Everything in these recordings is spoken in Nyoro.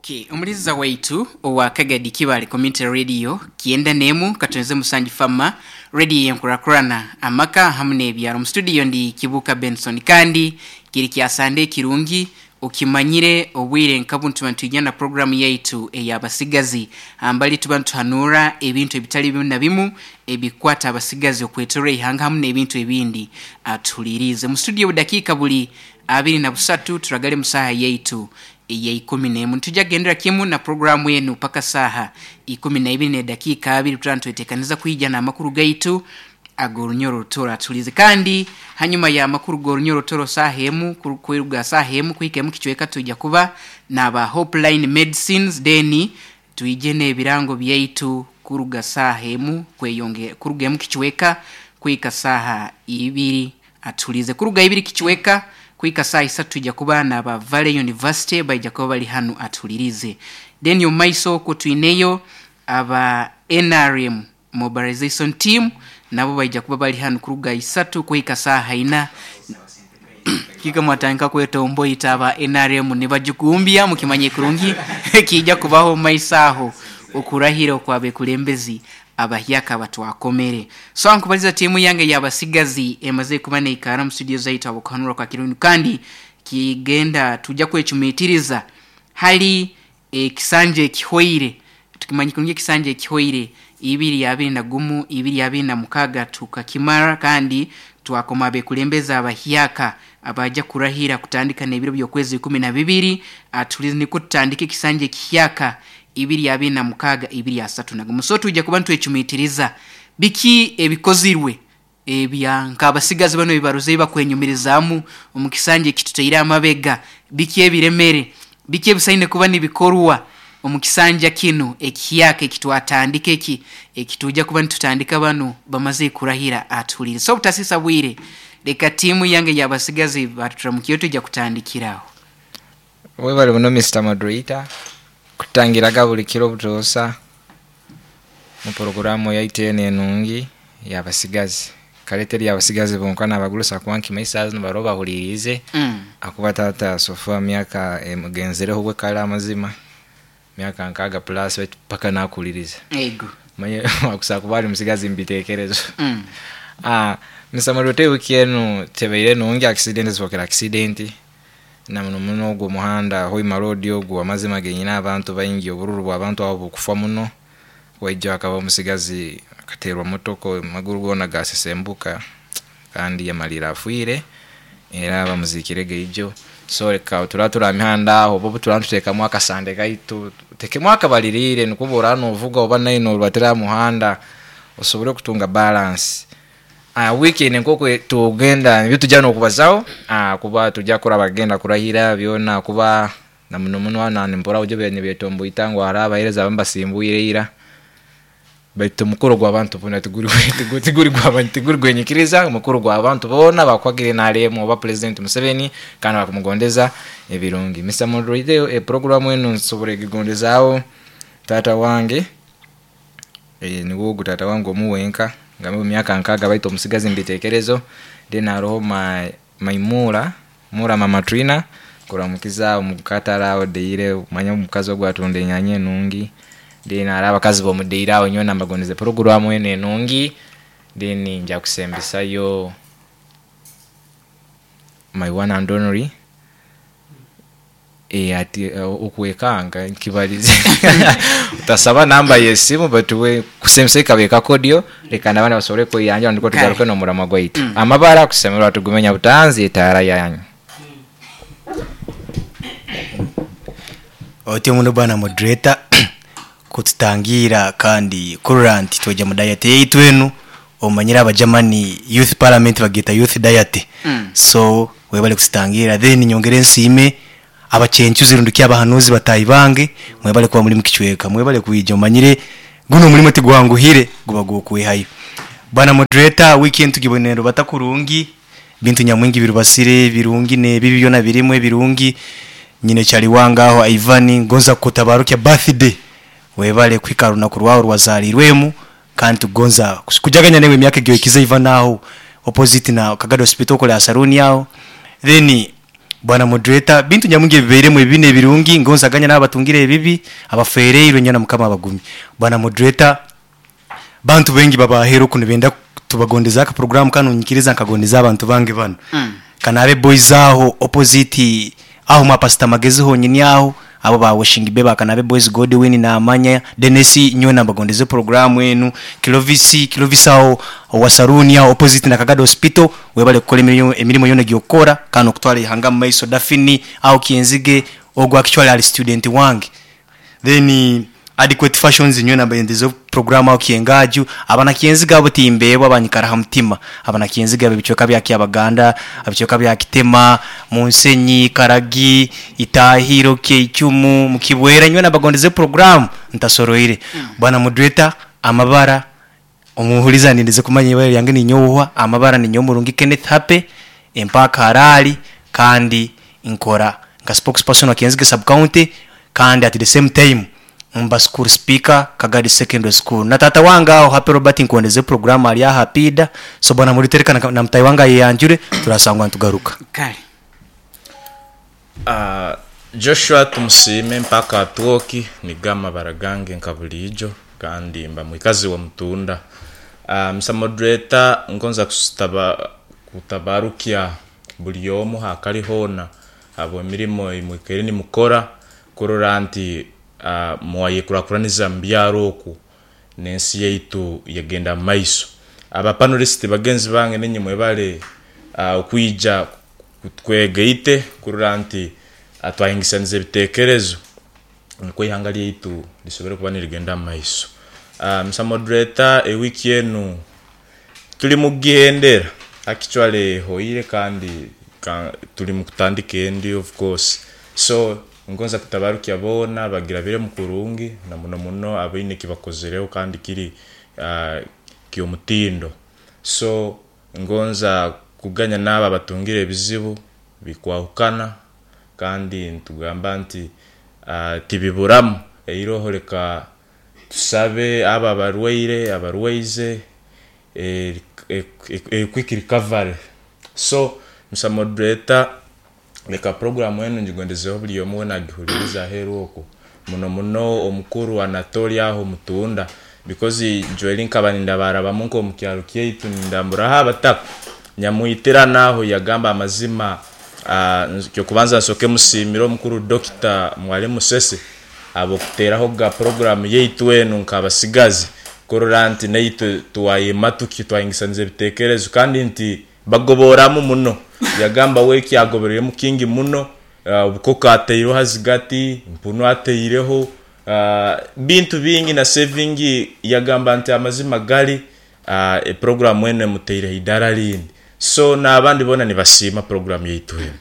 Okay, omuliza waitu owa Kagadi Kibale Community Radio 91 katonze musanju fama radio yenkurakurana amaka hamu n'ebyaro. Mu studio ndi Kibuka Benson, kandi kiri kyasande kirungi okimanyire obwire nka tuba nitwijja na programu yaitu ey'abasigazi, ambali tuba nituhanura ebintu ebitali bimu na bimu ebikwata abasigazi okwetorora ihanga hamu n'ebintu ebindi. Atuhulirize mu studio budakiika buli 23 turagale mu saaha yaitu eya 11. Nitujja kugendera kimu na programu enu paka saaha 12:02, tuba nitwetekaniza kwija n'amakuru gaitu ag'orunyoro rutoro. Atuhulize kandi hanyuma ya makuru g'orunyoro rutoro saaha emu kwiruga saaha emu kuhika emu kicweka tujja kuba n'aba Hopeline Medicines, then twije n'ebirango byaitu kuruga saaha emu kweyonge kuruga emu kicweka kuhika saaha 2. Atuhulize kuruga 2 kicweka kuhika saaha 3 tujja kuba n'aba Valley University, baija kuba bali hanu. Atuhulirize then omu maiso okwo twineyo aba NRM Mobilization Team, nabo baija kuba bali hanu kuruga 3 kuhika saaha 4. Kika mwatandika kwetomboita aba NRM nibajukumbya, mukimanye kurungi kijja kubaho omu maiso aho okurahira okwabekulembezi abahyaka batwakomere. So nkubaliza tiimu yange y'abasigazi emaze kuba neikara mu studio zaitu abokuhanura kwa kirungi, kandi kigenda tujja kwecumitiriza hali ekisanja ekihoire. Tukimanyi kurungi ekisanja ekihoire 2021 2026 tukakimara, kandi twakoma abekulembeza abahyaka abaja kurahira kutandika n'ebiro by'okwezi 12. Atulize niko tutandika ekisanja ekihyaka 2026 2031. So tujja kuba nitwecumitiriza biki ebikozirwe ebya nk'abasigazi bano ebibaruze bakwenyumirizaamu omu kisanja ekituteire amabega, biki ebiremere, biki ebisaine kuba nibikorwa omu kisanja kinu ekihyaka ekitwatandika eki ekituja kuba nitutandika bano bamaze kurahira. Atuhulire. So obutasisa bwire, leka tiimu yange y'abasigazi batuturamukiyo tujja kutandikiraho. Webale muno Mr. Moderator kutangiraga buli kiro butoosa mu poroguramu yaitu eno enungi y'abasigazi. Kale teri y'abasigazi bonka n'abagurusa kuba nkima esaaha zinu bariho bahuliriize akuba taata Sofa myaka emugenzireho bwe kale amazima myaka 60 plus baitu paka nakuhuliriza. Ego. Manye akusobola kuba ari musigazi mubitekerezo. Mr. Moderator, ewiki enu tebaire nungi, accident zifokera accident na muno muno ogwo omuhanda Hoima Road ogwo amazima genyine abantu baingi obururu bw'abantu abo bukufa muno. Waija akaba omusigazi akaterwa motoka amaguru goona gasesembuka kandi yamalira afiire era bamuzikire geijo. So reka turaba turi aha mihanda aho oba turaba nituteekamu akasande kaitu tutekemu akabaririire nikwo oraba novuga oba nawe norubatira aha muhanda osobole kutunga balance. Wiiki enu nk'oku tugenda nibyo tujja n'okubazaho kuba tujja kuraba bagenda kurahira byona kuba na muno muno hanu nimpurra bujo nibetomboita ngu hariho abaheereza abamu basimbwire ira baitu omukoro gw'abantu boona tiguri gwenyikiriza, omukoro gw'abantu boona bakwagira NRM oba President Museveni kandi bakumugondeza ebirungi. Mr. Moderator, eprogramu enu nsobora egigondezaaho taata wange, niwe ogu taata wange omu wenka ngambe omu myaka 60 baitu omusigazi mubitekerezo. Then hariho Maimura Mura Mama Trina kuramukiza omukatare aho Deire omanye omukazi ogu atunda enyanya enungi. Then hariho abakazi b'omu Deire aho nyowe nambagondeza poroguramu enu enungi. Then nja kusembesayo my one and only ati okwekanga nkibalize otasaba namba y'esimu baitu we kusembesayo kabe kakodyo leka n'abandi basobole kweyanjura nukwo tugaruke n'omuramwa gwaitu. Amabara kusemererwa tugumenya butanzi etaara yanyu. Otyo muno bwana moderator kututangira kandi kurora nti twija mu diet yaitu enu omanyire abajamani youth parliament bageta youth diet. So webale kututangira, then nyongere nsiime abachenchuzi rundi abahanuzi batahi bange, mwebale kuba muri mukichweka, mwebale kwija omanyire guno omulimo tigwanguhire guba gwokwehayo. Bwana moderator, weekend tugibonero batakurungi bintu nyamwingi birubasire birungi nebibi byona birimu ebirungi. Nyine chali wangaho Ivan ngonza kutabarukya birthday, webale kwika runaku rwawe rwazalirwemu kandi tugonza kujaganya newe emyaka egyo ekiza Ivan aho opposite na Kagado Hospital kola saruni aho. Then Bwana moderator, bintu nyamungi ebibairemu ebibi n'ebirungi, ngonzaganya n'abatungire ebibi, abafereirwe nyana Mukama abagumye. Bwana moderator, bantu bengi babahera oku nibenda tubagondeza aka program kanu, nyikiriza nkagondeza abantu bange bano. Kanabe boys aho opposite aho mwa Pastor Magezi honyini aho abo ba washing beba Kanabe boys Godwin na Amanya Dennis nyowe nabagondeze program enu. Kilovisi Kilovisi aho wa saruni aho opposite na Kagado Hospital, webale kukola emirimo yona gyokora kano kutwala ihanga mu maiso. Dafini aho Kienzige ogwa actually ali student wange. Then adequate fashions nyowe nabendeze program aho Kiengaju abana Kienziga abo timbebwa abanyikara ha mutima abana Kienziga ebichweka bya Kyabaganda, ebichweka bya Kitema, Munsenyi, Karagi, Itahiro, Keichumu, Mukibwera nyowe nabagondeze program ntasoroire. Bwana moderator, amabara omuhuliza nindeze kumanya ibara lyange ni nyowa, amabara ni Nyomurungi Kenneth Hape empaka harali kandi nkora nka spokesperson wa Kienzige sub county kandi at the same time mba school speaker Kagadi Secondary School. Na tata wanga aho Happy Robert nkondeze program ali aha pida. So bwana mulitereka na mtai wanga yeyanjure turasangwa ntugaruka. Kale. Joshua tumusime mpaka atuoki ni gama baragange nkabulijo kandi mba mwikazi wa mutunda. Mr. Moderator, ngonza kutabarukia buli omu hakali hona abo emirimo imwikere ni mukora kurora nti mwayekurakuraniza mbyaro oku n'ensi yaitu yagenda maiso. Aba panelist bagenzi bange ninyi mwebale okwija kutwegeite kurora nti atwahingisaniza ebitekerezo niko ihanga lyaitu lisobole kuba nirigenda maiso. Mr. Moderator, ewiki enu tuli mugihendera actually hoire kandi tuli mukutandika endi of course. So ngonza kutabarukia bona bagira bire mukurungi na muno muno abaine kibakozereho kandi kiri kiomutindo. So ngonza kuganya naba batungire ebizibu bikwahukana kandi ntugamba nti tibiburamu eiroho leka tusabe aba barwaire abarwaize quick recovery. So Mr. Moderator, leka program enu njigondezeho buli omu wena agihuliriza aheeru oku muno muno omukuru Anatolia aho mutunda because Joel nkaba nindabarabamu nko mu kyaro kyaitu nindamburaho abataka nyamuitira naho yagamba amazima. Kyo kubanza nsoke musimiro omukuru Dr. Mwalimu Sese abo kuteraho ga program yaitu enu nkabasigazi kurora nti naitu tuwayema twayingisaniza ebitekerezo kandi nti bagoboramu muno. Yagamba we kyagobereremu kingi muno, obukoko ateireho hazigati mpunu ateireho bintu bingi na saving. Yagamba nti amazima gali e program enu emuteireho idara lindi. So n'abandi bona nibasiima program yaitu enu.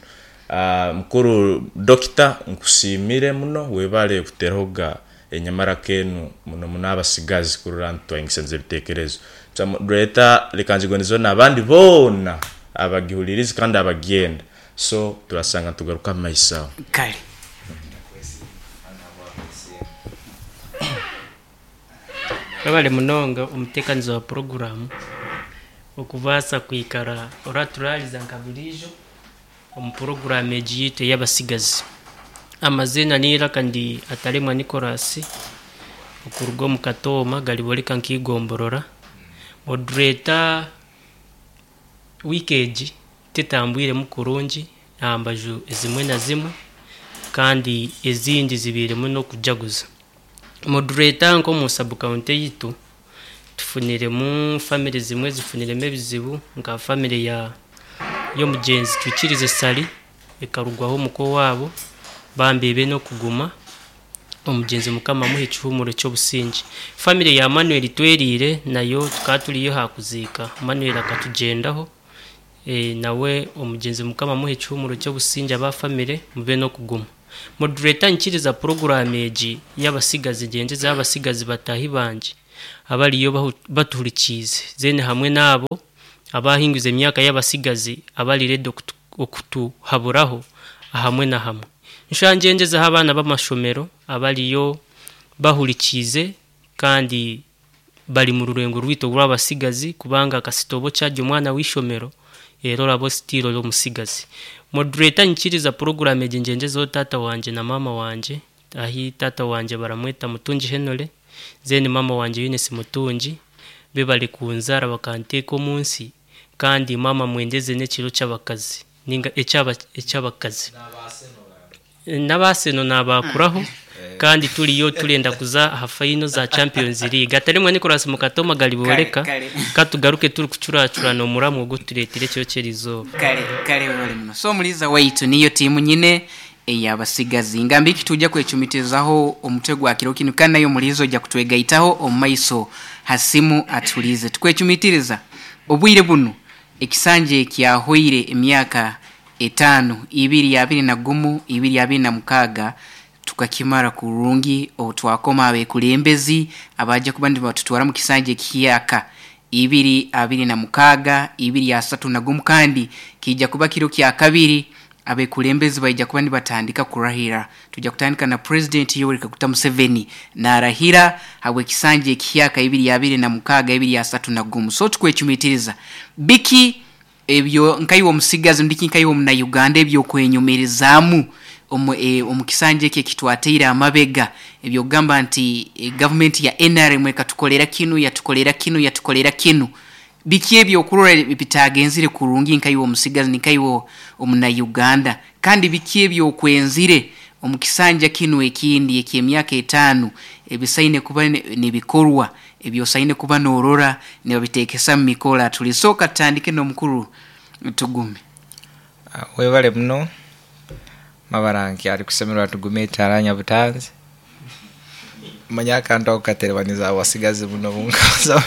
Mukuru Dokita nkusimire muno webale kuteraho ga enyamara kenu muno muno abasigazi kurora nti twayingisaniza ebitekerezo. Moderator, leka njigondezeho n'abandi bona abagihuliriza kandi abagenda. So turasanga tugaruka mu maiso aho. Kale. Webale munonga omutekanizi wa program okubaasa kwikara oraturaliza nka bulijo omu program egi yitu ey'abasigazi. Amazina niiraka ndi Atalemwa Nicholas okuruga omu Katooma galiboleka nkigomborora. Moderator, wiiki egi tetambwiremu kurungi aha mbaju ezimwe na zimwe kandi ezindi zibiiremu n'okujaguza. Moderator, nk'omu sub county yitu tufuniremu family zimwe zifuniremu ebizibu nka family ya y'omugyenzi Twikirize Sali ekarugwaho omuko waabo bambibe n'okuguma omugyenzi Mukama amuhe ekihumuro ky'obusinge. Family ya Manuel Twerire nayo tukaba turiyo hakuziika Manuel akatugyendaho nawe omugyenzi Mukama amuhe ekihumuro ky'obusinge aba family mube n'okuguma. Moderator, nkiriza program egi y'abasigazi ngyengyeza abasigazi batahi bangye abariyo batuhurikiize zene hamwe n'abo abahinguza emyaka y'abasigazi abari ready okutuhaburaho ahamwe na hamwe. Nshangyengezaho abaana b'amashomero abariyo bahurikiize kandi bari mu rurengo rwitu rw'abasigazi kubanga akasitobo kyarya omwana w'ishomero. Era oraba still ori omusigazi. Moderator, nyikiriza program egi ngyenjezeho taata wangye na maama wangye. Ahi taata wangye baramweta Mutungi Henry, then maama wangye Eunice Mutungi, bebare kunzaara bakanteeka omu nsi, kandi maama mwendeze n'ekiro ky'abakazi ninga eky'abakazi. N'abaaseno nabaakuraho, kandi turiyo turenda kuza aha final za Champions League. Atarimwe Nicholas Mukatoma gariboreka, Kare, kare. Katugaruke turi kucuracurana omuramwa ogu tureetire ekiro ky'erizooba. Kale kale, webale muno. So omuliza waitu, niyo tiimu nyine eyabasigazi ngamba iki tujja kwecumitizaho omutwe gwa kiro kinu, kandi nayo omuliza ojja kutwegaitaho omu maiso hasimu atulize. Tukwecumitiriza obwire bunu ekisanja ekyahoire emyaka 5, 2021, 2026, tukakimara kurungi obutwakoma abekulembezi abaje kuba nibatutwara mu kisanja ekihiyaka 2026, 2031, kandi kijja kuba kiro kya kabiri abekulembezi baija kuba nibatandika kurahira. Tujja kutandika na President Yoweri Kaguta Museveni narahira habwe ekisanja ekihiyaka 2026, 2031. So tukwecumitiriza biki ebyo nkaiwe omusigazi ndiki nkaiwe omuna Uganda ebyo kwenyumirizaamu omu kisanja eki ekitwateire amabega, ebyo kugamba nti government ya NRM ekatukolera kinu, yatukolera kinu, yatukolera kinu. Biki ebyo okurora bitagenzire kurungi nkaiwe omusigazi nkaiwe omuna Uganda, kandi biki ebyo okwenzire omu kisanja kinu ekindi eky'emyaka 5 ebisaine kuba nibikorwa, ebyosaine kuba norora nibabitekesa mu mikola. Tulisoka tutandike n'omukuru Tugume. Webale muno mabaranki ari kusemerwa Tugume etaranya butanzi manya akantu ako katerebaniza abasigazi buno bunkaza.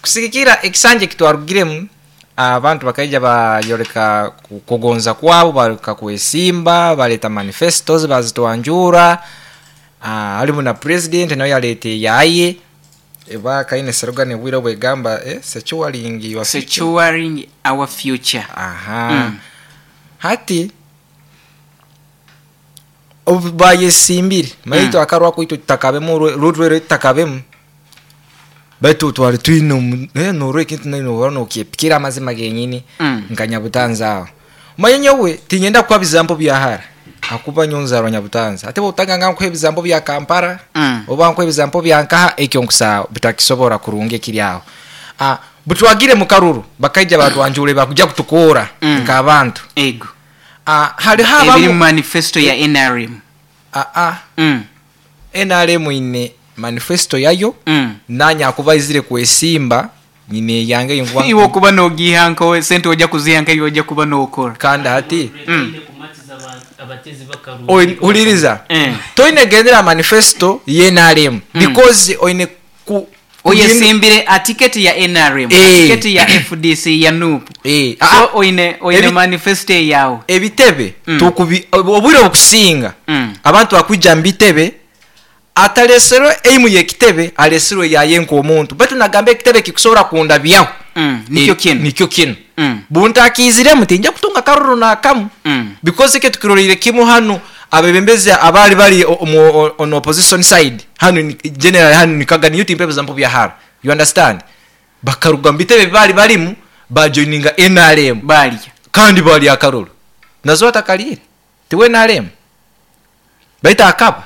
Kusigikira ekisanja ekitwarugiremu, abantu bakaija bayoreka kugonza kwabo, bareka kwesimba, baleta manifestos bazitwanjura. Harimu na president nawe yaleta yaye eba kaine slogan bwire bwegamba, securing your future. Securing our future. Aha. Hati obu bayesimbire maitu akarwa kwitu tutakabemu rurwere tutakabemu baitu twari twine norwe kintu naino wano okipikira amazima genyini. Nka Nyabutanza aho manye nyowe tinyenda kuba bizambo byahara akuba nyonzarwa Nyabutanza ate botanga nga nkuha ebizambo bya Kampala oba nkuha ebizambo bya nkaha ekyo nkusa bitakisobora kurunga ekiri aho. Butwagire mu karuru bakaija batwanjure bakuja kutukora nk'abantu. Ego. Hariho ebiri abamu mu manifesto ya NRM. NRM ine manifesto yayo. Nanya akuba izire kwesimba nyine yange yinkuba iwe okuba nogiha nko sente ojja kuziha nka iwe ojja kuba nokora. Kandi hati Abatezi b'akaruru. Huliriza. Toine gendera manifesto ye NRM because oine ku oyesimbire a tiketi ya NRM, tiketi ya FDC, ya NUP. So oine manifesto yawe. Ebitebe tukubi obwire obukusinga abantu bakwija mu bitebe ataleserwe eimu yekitebe aleserwe yaye nk'omuntu baitu nagamba ekitebe kikusobora kundabyaho. Nikyo kinu. Nikyo kinu. Buntakiziremu tinja kutunga karuru nakamu because eke tukirorire kimu hanu abebembezi abali bali on opposition side hanu general hanu nikaga niyo timpe example bya hara, you understand, bakaruga mu bitebe bali balimu bajoininga NRM. Balya. Kandi bali akaruru nazo atakalire tiwe NRM baita akaba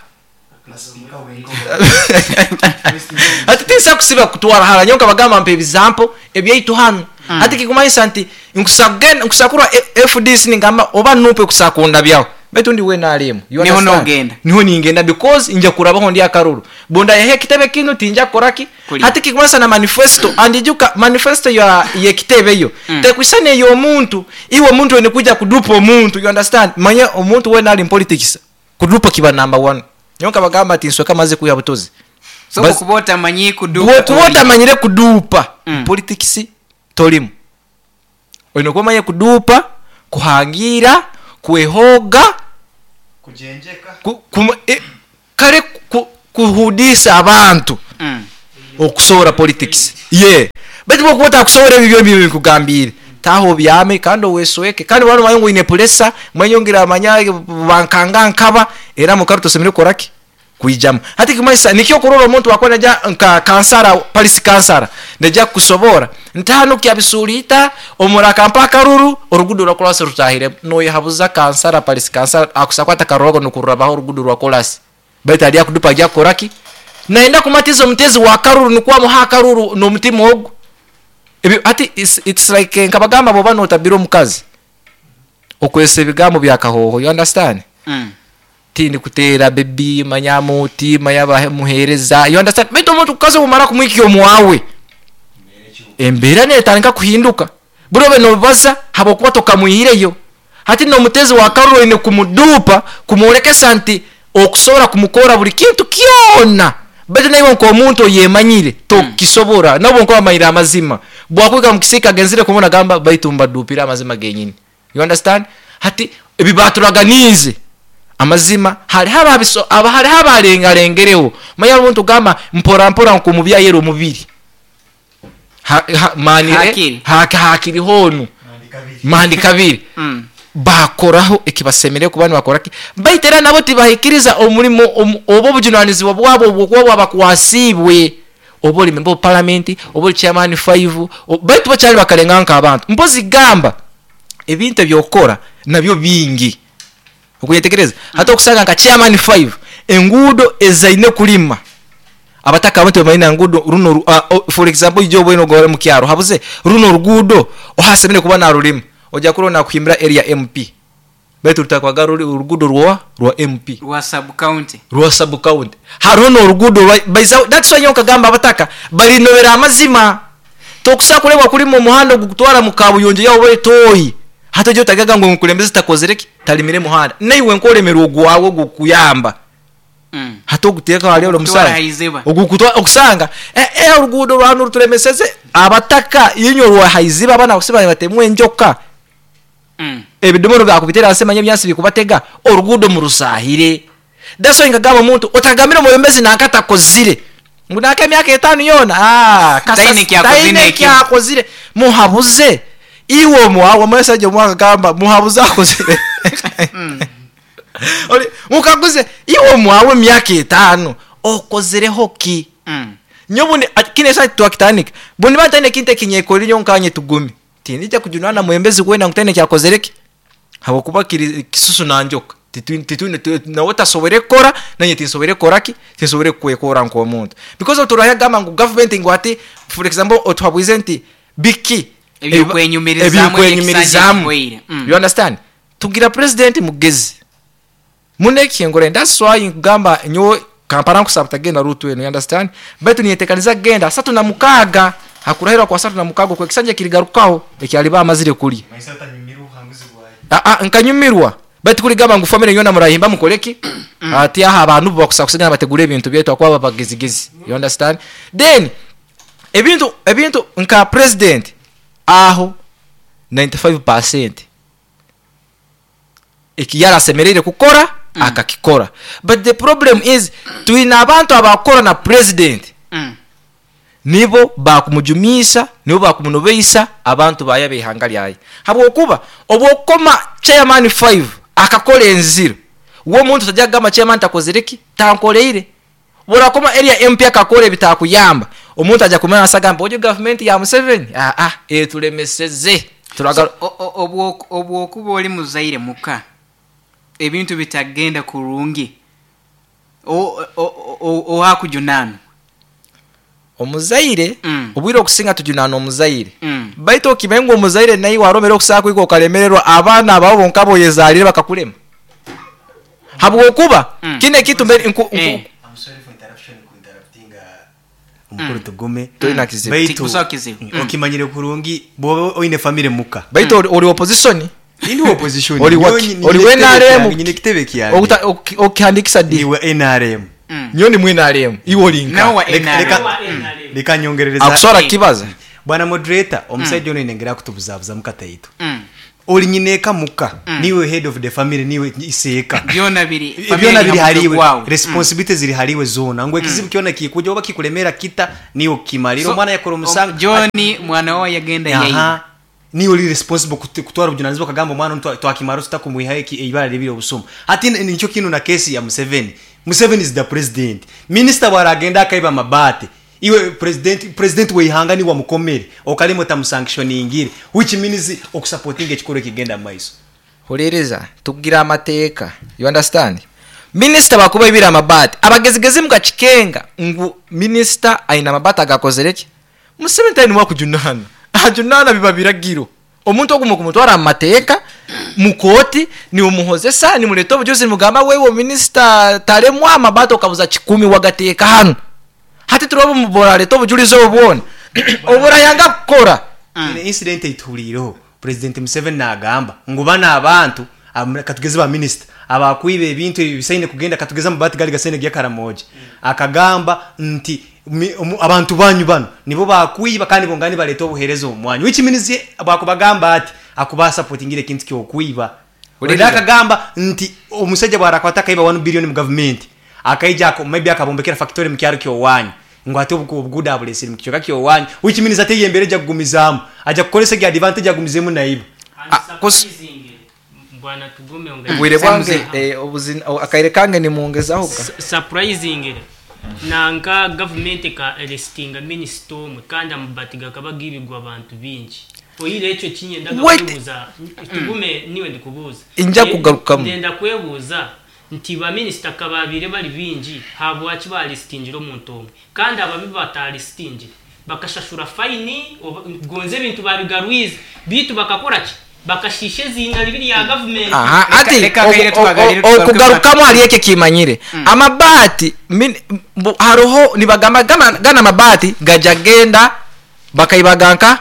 ati tinsa kusiba kutwara hala nyonka bagamba mpe example ebyaitu hanu. Ati kikumanyisa nti nkusagenda nkusakura FDC ningamba oba nupe kusakunda byawo baitu ndi we NRM. You Niho understand? nogenda. Niho ningenda because nja kurabaho ndi akaruru bonda yahe kitebe kino tinja koraki. Kuli. Hati kikumanyisa na manifesto andijuka manifesto ya yekitebe yo tekusane yo omuntu iwe omuntu ene kuja kudupa omuntu, you understand, manye omuntu we nali in politics kudupa kiba number 1 nyonka bagamba ati nsweka maze kuya butozi. So kuba otamanyi kudupa Bwe kuba toli. otamanyire kudupa politics tolimu olina kuba omanye kudupa kuhangira kwehoga kale kuhudisa abantu okusobola politics ye baitu bwokuba otakusobola ebyo byombi bikugambire taho byame kandi owesweke kandi wano manyi ngu oine puresa manyongera amanya bankanga nkaba era mukaru tosemere kukoraki. Kwijamu hati kimaisa nikyo kurora omuntu akora naja nka kansara palisi kansara neja kusobora ntano kyabisuulita omuraka mpaka ruru orugudo rwa kolasi rutahire noyehabuza kansara palisi kansara akusakwata karogo nukururabaho orugudo rwa kolasi baitu ali akudupa ajya kukoraki naenda kumatiza omutezi wa karuru nukwa muha karuru n'omutima ogwo. Ebyo ati it's like nkabagamba boba notabira omukazi okwesa ebigambo bya kahoho, you understand? Tindi kutera baby manyamu tima yaba muhereza, you understand? Baitu omuntu kukazi omara kumwikyo omwawe embera netandika kuhinduka burobe nobaza habokuba tokamwihireyo. Hati n'omutezi wa karuru ine kumudupa kumworekesa nti okusobora kumukora buli kintu kyona, baitu naiwe nk'omuntu oyemanyire tokisobora nabo nko amayira amazima bwakwika mukisika genzire kumona gamba baitu mbadupira amazima genyini, you understand? Hati ebibaturaganize amazima hari haba hari habarengarengereho manya omuntu gamba mpora mpora nkumubya yero omubiri mani hakiri honu mandi kabiri. Bakoraho ekibasemere kuba nibakoraki baitera nabo tibahikiriza omulimo obo obujunanizibwa bwabo obwokuba bwabakwasibwe oba oli member of parliament oba oli chairman 5 baitu bakyali bakalenga nk'abantu mpozi gamba ebintu ebyokora nabyo bingi okuyetegereza. Hata okusanga nka chairman 5 enguudo ezaine kulima abataka abantu bamalina ngudo runo for example ijo bweno gore mu kyaro habuze runo rugudo ohasemere kuba narulima oja kurona kuhimbira area MP baitu rutakwaga urugudo rwa MP rwa sub county rwa sub county haruno urugudo baiza. That's why nkagamba abataka balinobera amazima tokusa kulebwa kuli mu muhanda gukutwara mu kabuyonjo yawo betoyi hata jo tagaga ngo nkulembeze takozereki talimire muhanda naiwe nkolemerwa ogwawe gukuyamba. Hata oguteka hali olo musaya ogukutwa okusanga urugudo rwanu rutulemeseze abataka yinyo rwa haiziba abana kusiba batemwe enjoka. Ebidomoro byakubitera asema nyabyansi bikubatega orugudo mu rusahire. That's why ngagamba omuntu otagamira mubembezi nankata kozire ngunaka emyaka 5 yona taine kyakozire muhabuze iwe mwawe mwesaje mwaka gamba muhabuze akozire. Oli mukaguze iwe mwawe myaka 5 okozireho ki? Nyobundi kine site twakitanika bundi batane kinte kinyekori nyonkanye tugumi tinija kujunana mwembezi kwenda ngutene kyakozereki habokuba kisusu nanjoka titwine nawe tasobere kora nanye tinsobere koraki tinsobere kwekora nko omuntu because oturaya gamba ngu government ngo ati for example otwabwize nti biki ebikwenyumirizamu, you understand? Tugira president mugezi muneki ngore that's why ngamba nyo Kampala nkusaba genda rutu you understand? Baitu niyetekaniza genda 36 hakurahirwa kwa 36 kwa kisanja kirigarukaho ekyaliba amazire kuli nkanyumirwa baitu kuligamba ngu family yona murahimba mukoleki ati aha abantu bakusa kusigana bategura ebintu byetu akwa babagezigezi, you understand? Then ebintu nka president aho 95% ekiyara semerere kukora akakikora, but the problem is tuina abantu abakora na president nibo bakumujumisa nibo bakumunobeisa abantu bayabe ihanga lyaye habwokuba obwokoma chairman 5 akakora enziro uwo muntu tajya gamba chairman takozereki tankoleire borakoma area MP akakora bitakuyamba omuntu ajya kumenya asagamba ojo government ya Museveni etulemeseze turaga. Obwokuba oli muzaire muka ebintu bitagenda kurungi o hakujunana omuzaire obwire okusinga tujunana omuzaire. Baitu okimengo omuzaire nayi waromera okusaka kwiko okalemererwa abaana abo bonkabo yezalire bakakulema habwokuba kine kitu mbere I'm sorry for interruption ku interrupting omukuru tugume tolina kizibu baitu okimanyire kurungi bobe oine family muka baitu oli opposition indi opposition oli oli NRM nyine kitebe kyange okihandikisa di niwe NRM nyoni mwe NRM iwo linka leka nyongerereza akusora kibaza bwana moderator omusajja ono inengera kutubuzabuza mukataitu oli nyineka muka niwe head of the family niwe iseka byona biri haliwe responsibilities ziri haliwe zona ngo ekizibu kyona kikuja oba kikulemera kita niwe kimaliro so, mwana yakora omusanga Johnny mwana wa yagenda yayi niwe oli responsible kutwara obujunanizibwa kagamba omwana twakimaro tutakumuiha ibara libiri obusuma hati nicho kinu na kesi ya Museveni Museveni is the president. Minister bwaragenda akaiba amabati, iwe president weihanga niwe wamukomere okalimo tamusanctioningire, which means okusupporting ekikoro ekigenda mu maiso. Huliriza, tugira amateeka, you understand? Minister bakuba ibira amabati, abagezigezi mukakikenga ngu minister aina amabati agakozere ki? Museveni tali niwe akujunana. Ajunana biba biragiro. Omuntu ogumu kumutwara mu mateeka mu kooti niumuhozesa nimuleta obujuzi nimugamba wewe minister talemwa amabati okabuza 10 wagateeka hano. Hati turoba muboraleta obujulizi obwona. Oburayanga kukora. Ine incident eitulireho President Museveni nagamba ngu bana abantu katugeze ba minister abakwibe ebintu ebisaine kugenda katugeze amabati gali gasaine gya Karamoja. Akagamba nti abantu banyu bano nibo bakwiba kandi bongani baleta obuhereza omwanyu, which means bakubagamba ati akuba supportingire ekintu kyokwiba. Ulira akagamba nti omusajja bwarakwata kaiba 1 billion mu government akaija maybe akabombekera factory mu kyaro kyowanyu ngo ate obuguda abulesire mu kichoka kyowanyu, which means ate yembere ja kugumizamu aja kukolesa gya advantage agumizemu naiba. Bwana tugume bwire bwange akaire kange ni muongezaho surprising nanka government ka arrestinga minister omwe kandi amabati gakaba gibigwa abantu bingi. Oyire ekyo kinyenda kubuuza tugume niwe ndikubuuza inja kugarukamu ndenda kwebuuza nti ba minister kababire bali bingi habwaki ba arrestingira omuntu omwe kandi ababi bataarrestingire bakashashura fine gonze ebintu babigarwize bitu bakakora ki bakashishe zina libiri ya government. Aha, ati okugarukamu ali eke kimanyire amabati haroho nibagamba gana amabati gajagenda bakaibaganka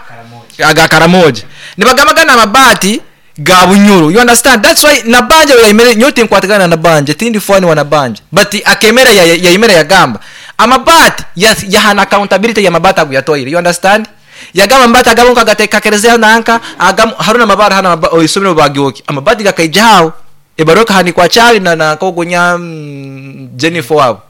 aga Karamoja nibagamba gana amabati ga Bunyoro, you understand? That's why nabanja yayimere nyote nkwatigana nabanja tindi fwani wanabanja but akemera yayimera yagamba amabati yahana accountability ya mabati aguyatoire, you understand? Yagamba mbata agabonka gatekakerezea nanka agam haruna mabara hana isomero bagyoki amabati gakaijaho ebaroka hani kwa chali na kogonya Jennifer wabo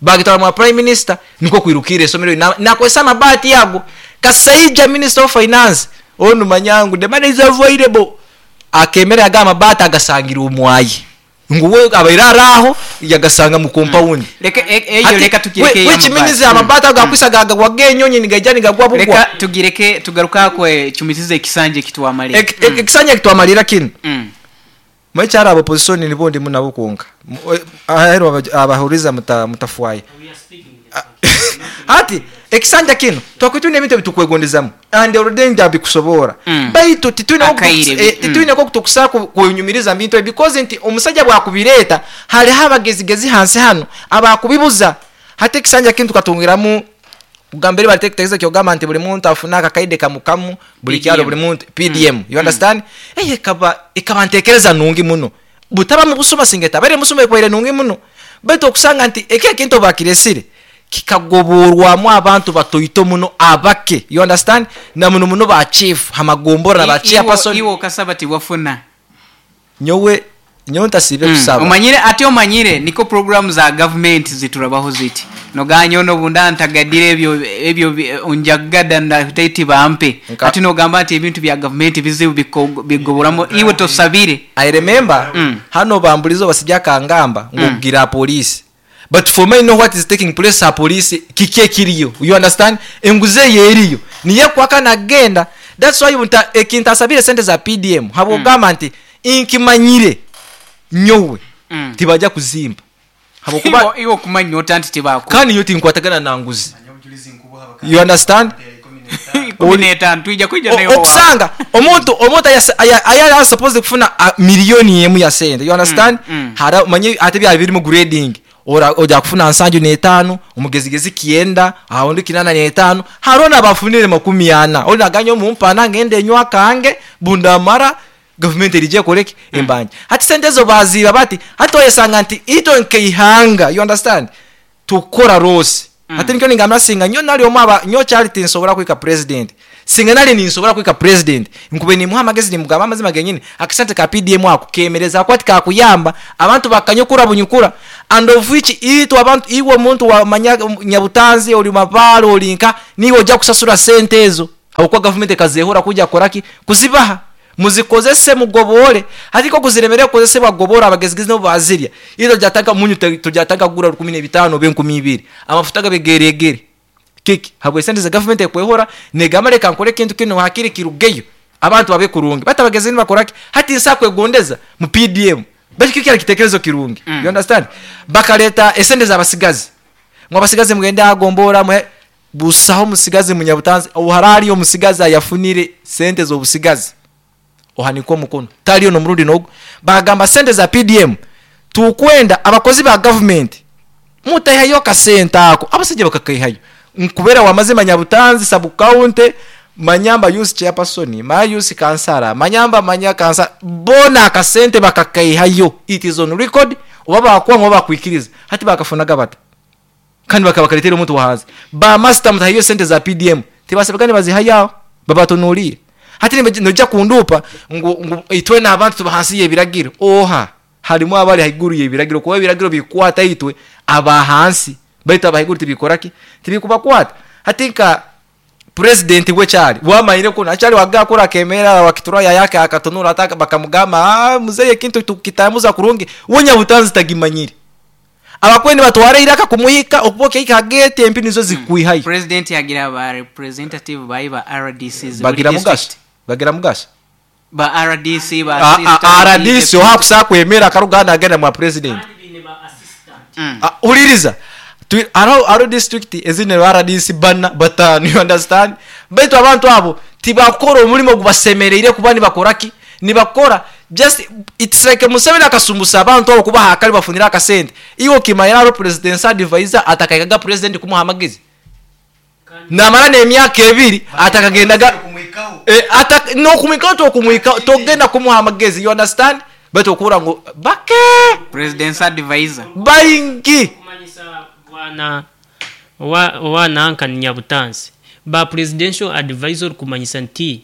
bagitwara mu prime minister niko kwirukire isomero na kwesa mabati yago Kasaija minister of finance onu manyangu the money is available akemera yagamba mabati agasangira umwayi nguwe abairaraho yagasanga mu compound. Leka eyo leka tukireke which means amabati agakwisa gagwa genyonyi nigajani gagwa bugwa. Leka tugireke tugaruka kwe chumitize ekisanje kitwamalira. Ekisanje kitwamalira kino. Mwekyara abo position nibondi munabo konka ahero abahuriza mutafwaye. Hati ekisanja kino twakwitune ebintu bitukwegondezamo and already ndabikusobora baitu titwine ko kutukusa kunyumiriza bintu because nti omusajja bwakubireta hali habagezigezi hansi hano abakubibuza. Hati ekisanja kino tukatungiramu kugambere balitekeza kyogamba nti buli muntu afuna akakaide kamukamu buli kyalo buli muntu PDM, you understand? Ekaba ntekereza nungi muno butaba mu busoma singeta bare musoma ekwaire nungi muno baitu okusanga nti eke kintu bakiresire kikagoborwamu abantu batoito muno abake, you understand? Na muno muno ba chief hamagombora na ba chairperson iwo kasaba ti wafuna nyowe nyonta sibe kusaba omanyire ate omanyire niko program za government ziturabaho ziti noganyo no bunda ntagadire ebyo onjagada ndataiti bampe ati nogamba ati ebintu bya government bizibu bigoboramo iwe tosabire. I remember hano bambulizo basijja kangamba ngogira police but for me know what is taking place a police kike kiriyo, you understand? Enguze yeriyo niye kwaka nagenda. That's why ekintasabire sente za PDM habo gamba nti inkimanyire nyowe tibajja kuzimba habo kuba iwo kumanya otanti tibako kandi nyo tinkwatagana na nguzi, you understand? 15 tuija kuija nayo okusanga omuntu aya supposed kufuna milioni emu ya sente, you understand? Hara manye ate bya biri mu grading ora oja kufuna 75 omugezigezi kienda aho kinana 5 harona bafunire 40 oli naganyo mumpana ngende nywa kange bundamara government erije koleki embanje hati sente zo baziba bati hati oyesanga nti ito nkeihanga, you understand? Tukora rose hati nikyo ningamra singa nyo nali omaba nyo charity nsobora kwika president singa nali ninsobora kwika president nkube ni muhamagezi ni mugamba amazima genyini akasente ka PDM akukemereza akwati kakuyamba abantu bakanyukura bunyukura and of which ito abantu iwo muntu wa nyabutanzi oli mabalo olinka niwo ojja kusasura sente ezo okwa government kazehora kujja koraki kuzibaha Muzikozese mugobore. Hati ko kuziremere kukozesebwa gobora abagezigezi nabo bazirya. Iro jataka munyu tujataka kugura 15 obe 20. Amafuta gabegeregere. Kiki habwe sente za government ekwehora negamba reka nkore kintu kino hakiri kirugeyo abantu babe kurungi batabageze nibakoraki hati nsa kwegondeza mu PDM baki kiki kitekerezo kirungi. You understand? Bakaleta esente za basigazi mwa basigazi mugenda agombora mwe busaho musigazi munyabutanzi oharari omusigazi ayafunire sente zo busigazi ohaniko mukono taliyo no murundi nogo bagamba sente za PDM tukwenda abakozi ba government mutahayo kasenta ako abasije bakakaihayo nkubera wamazima Nyabutanzi sub county manyamba youth chairperson ma youth kansara manyamba manya kansara bona akasente bakakaihayo it is on record oba bakwa ngo bakwikiriza hati bakafunaga bata kandi bakabakaletera omuntu wahanze ba master mutahayo sente za PDM tibasabagane bazihayao babatonulie hati noja kundupa ngo itwe n'abantu tubahansi yebiragiro oha harimo abali haiguru yebiragiro kuba ebiragiro bikwata itwe abahansi baita abahiguru tibikoraki tibikubakwata hatinka president we cyari wamaire ko nachari wagakora kemera wakitura yake akatonura ataka bakamugamba muzeye kintu tukitamuza kurungi wonya butanzi tagimanyire abakweni batware iraka kumuhika okuboke ikagete empi nizo zikuihayo. President yagira ba representative baiba RDCs bagira mugasha ba RDC ba assistant RDC ohakusa kwemera karuganda agenda mwa president uliriza aro district ezine RDC bana batanu, you understand? Baitu abantu abo tibakora omulimo gubasemereire kuba nibakoraki nibakora just it's like Museveni akasumbusa abantu abo kuba hakali bafunira akasente iwo kimayira aro president advisor atakaikaga president kumuha amagezi namara nemyaka ebiri atakagendaga no kumwikaho tokumwikaho togenda kumuha amagezi, you understand? Baitu okura ngo bake president advisor baingi wana wa nanka Nyabutanzi ba presidential advisor kumanyisa nti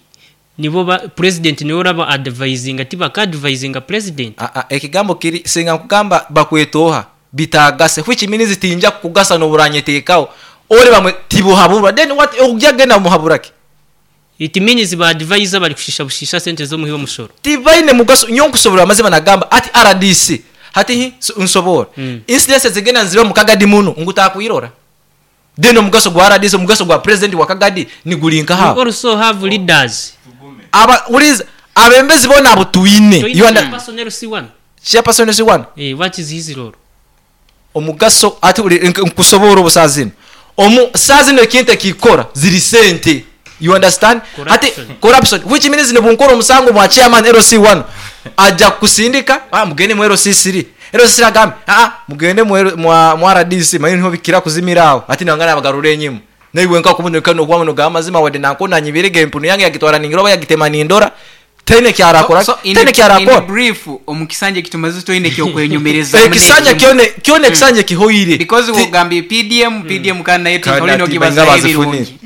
nibo ba president niwe raba advising ati baka advising president ekigambo kiri singa kugamba bakwetoha bitagase which means tinja kugasa no buranyetekaho ore bamwe tibuhabura then what ujagenda muhaburaki it means ba advisor bali kushisha bushisha sente zo muhibo mushoro tibaine mugaso nyonkusobora amazima nagamba ati RDC hati nsobora incidents zigenda nziba mukagadi muno ngutakuirora deno mugaso gwa RDC mugaso gwa president wa Kagadi ni gulinka ha. We also have leaders aba uliza abembezi bona abutuine you under personnel C1 chairperson C1 what is his role omugaso ati nkusobora obusazino omu sazino ekintu kikora ziri sente, you understand? Ati corruption which means ne bunkoro omusango mwa chairman LC1 aja kusindika mugende mu LC3 LC3 agambe mugende mu RDC manyi niho bikira kuzimirao ati nangana abagarure nyimu naiwe nka kuboneka no kwamano gamazima wade nankona nyibirege empunu yange yagitwara ningiro yagitema nindora tene kyarakora tene kyarakora in brief omukisanje kitumaze toine kyo kwenyumereza ekisanja kyone ekisanje kihoire because ugambi PDM kana yetu tolino kibaza ebirungi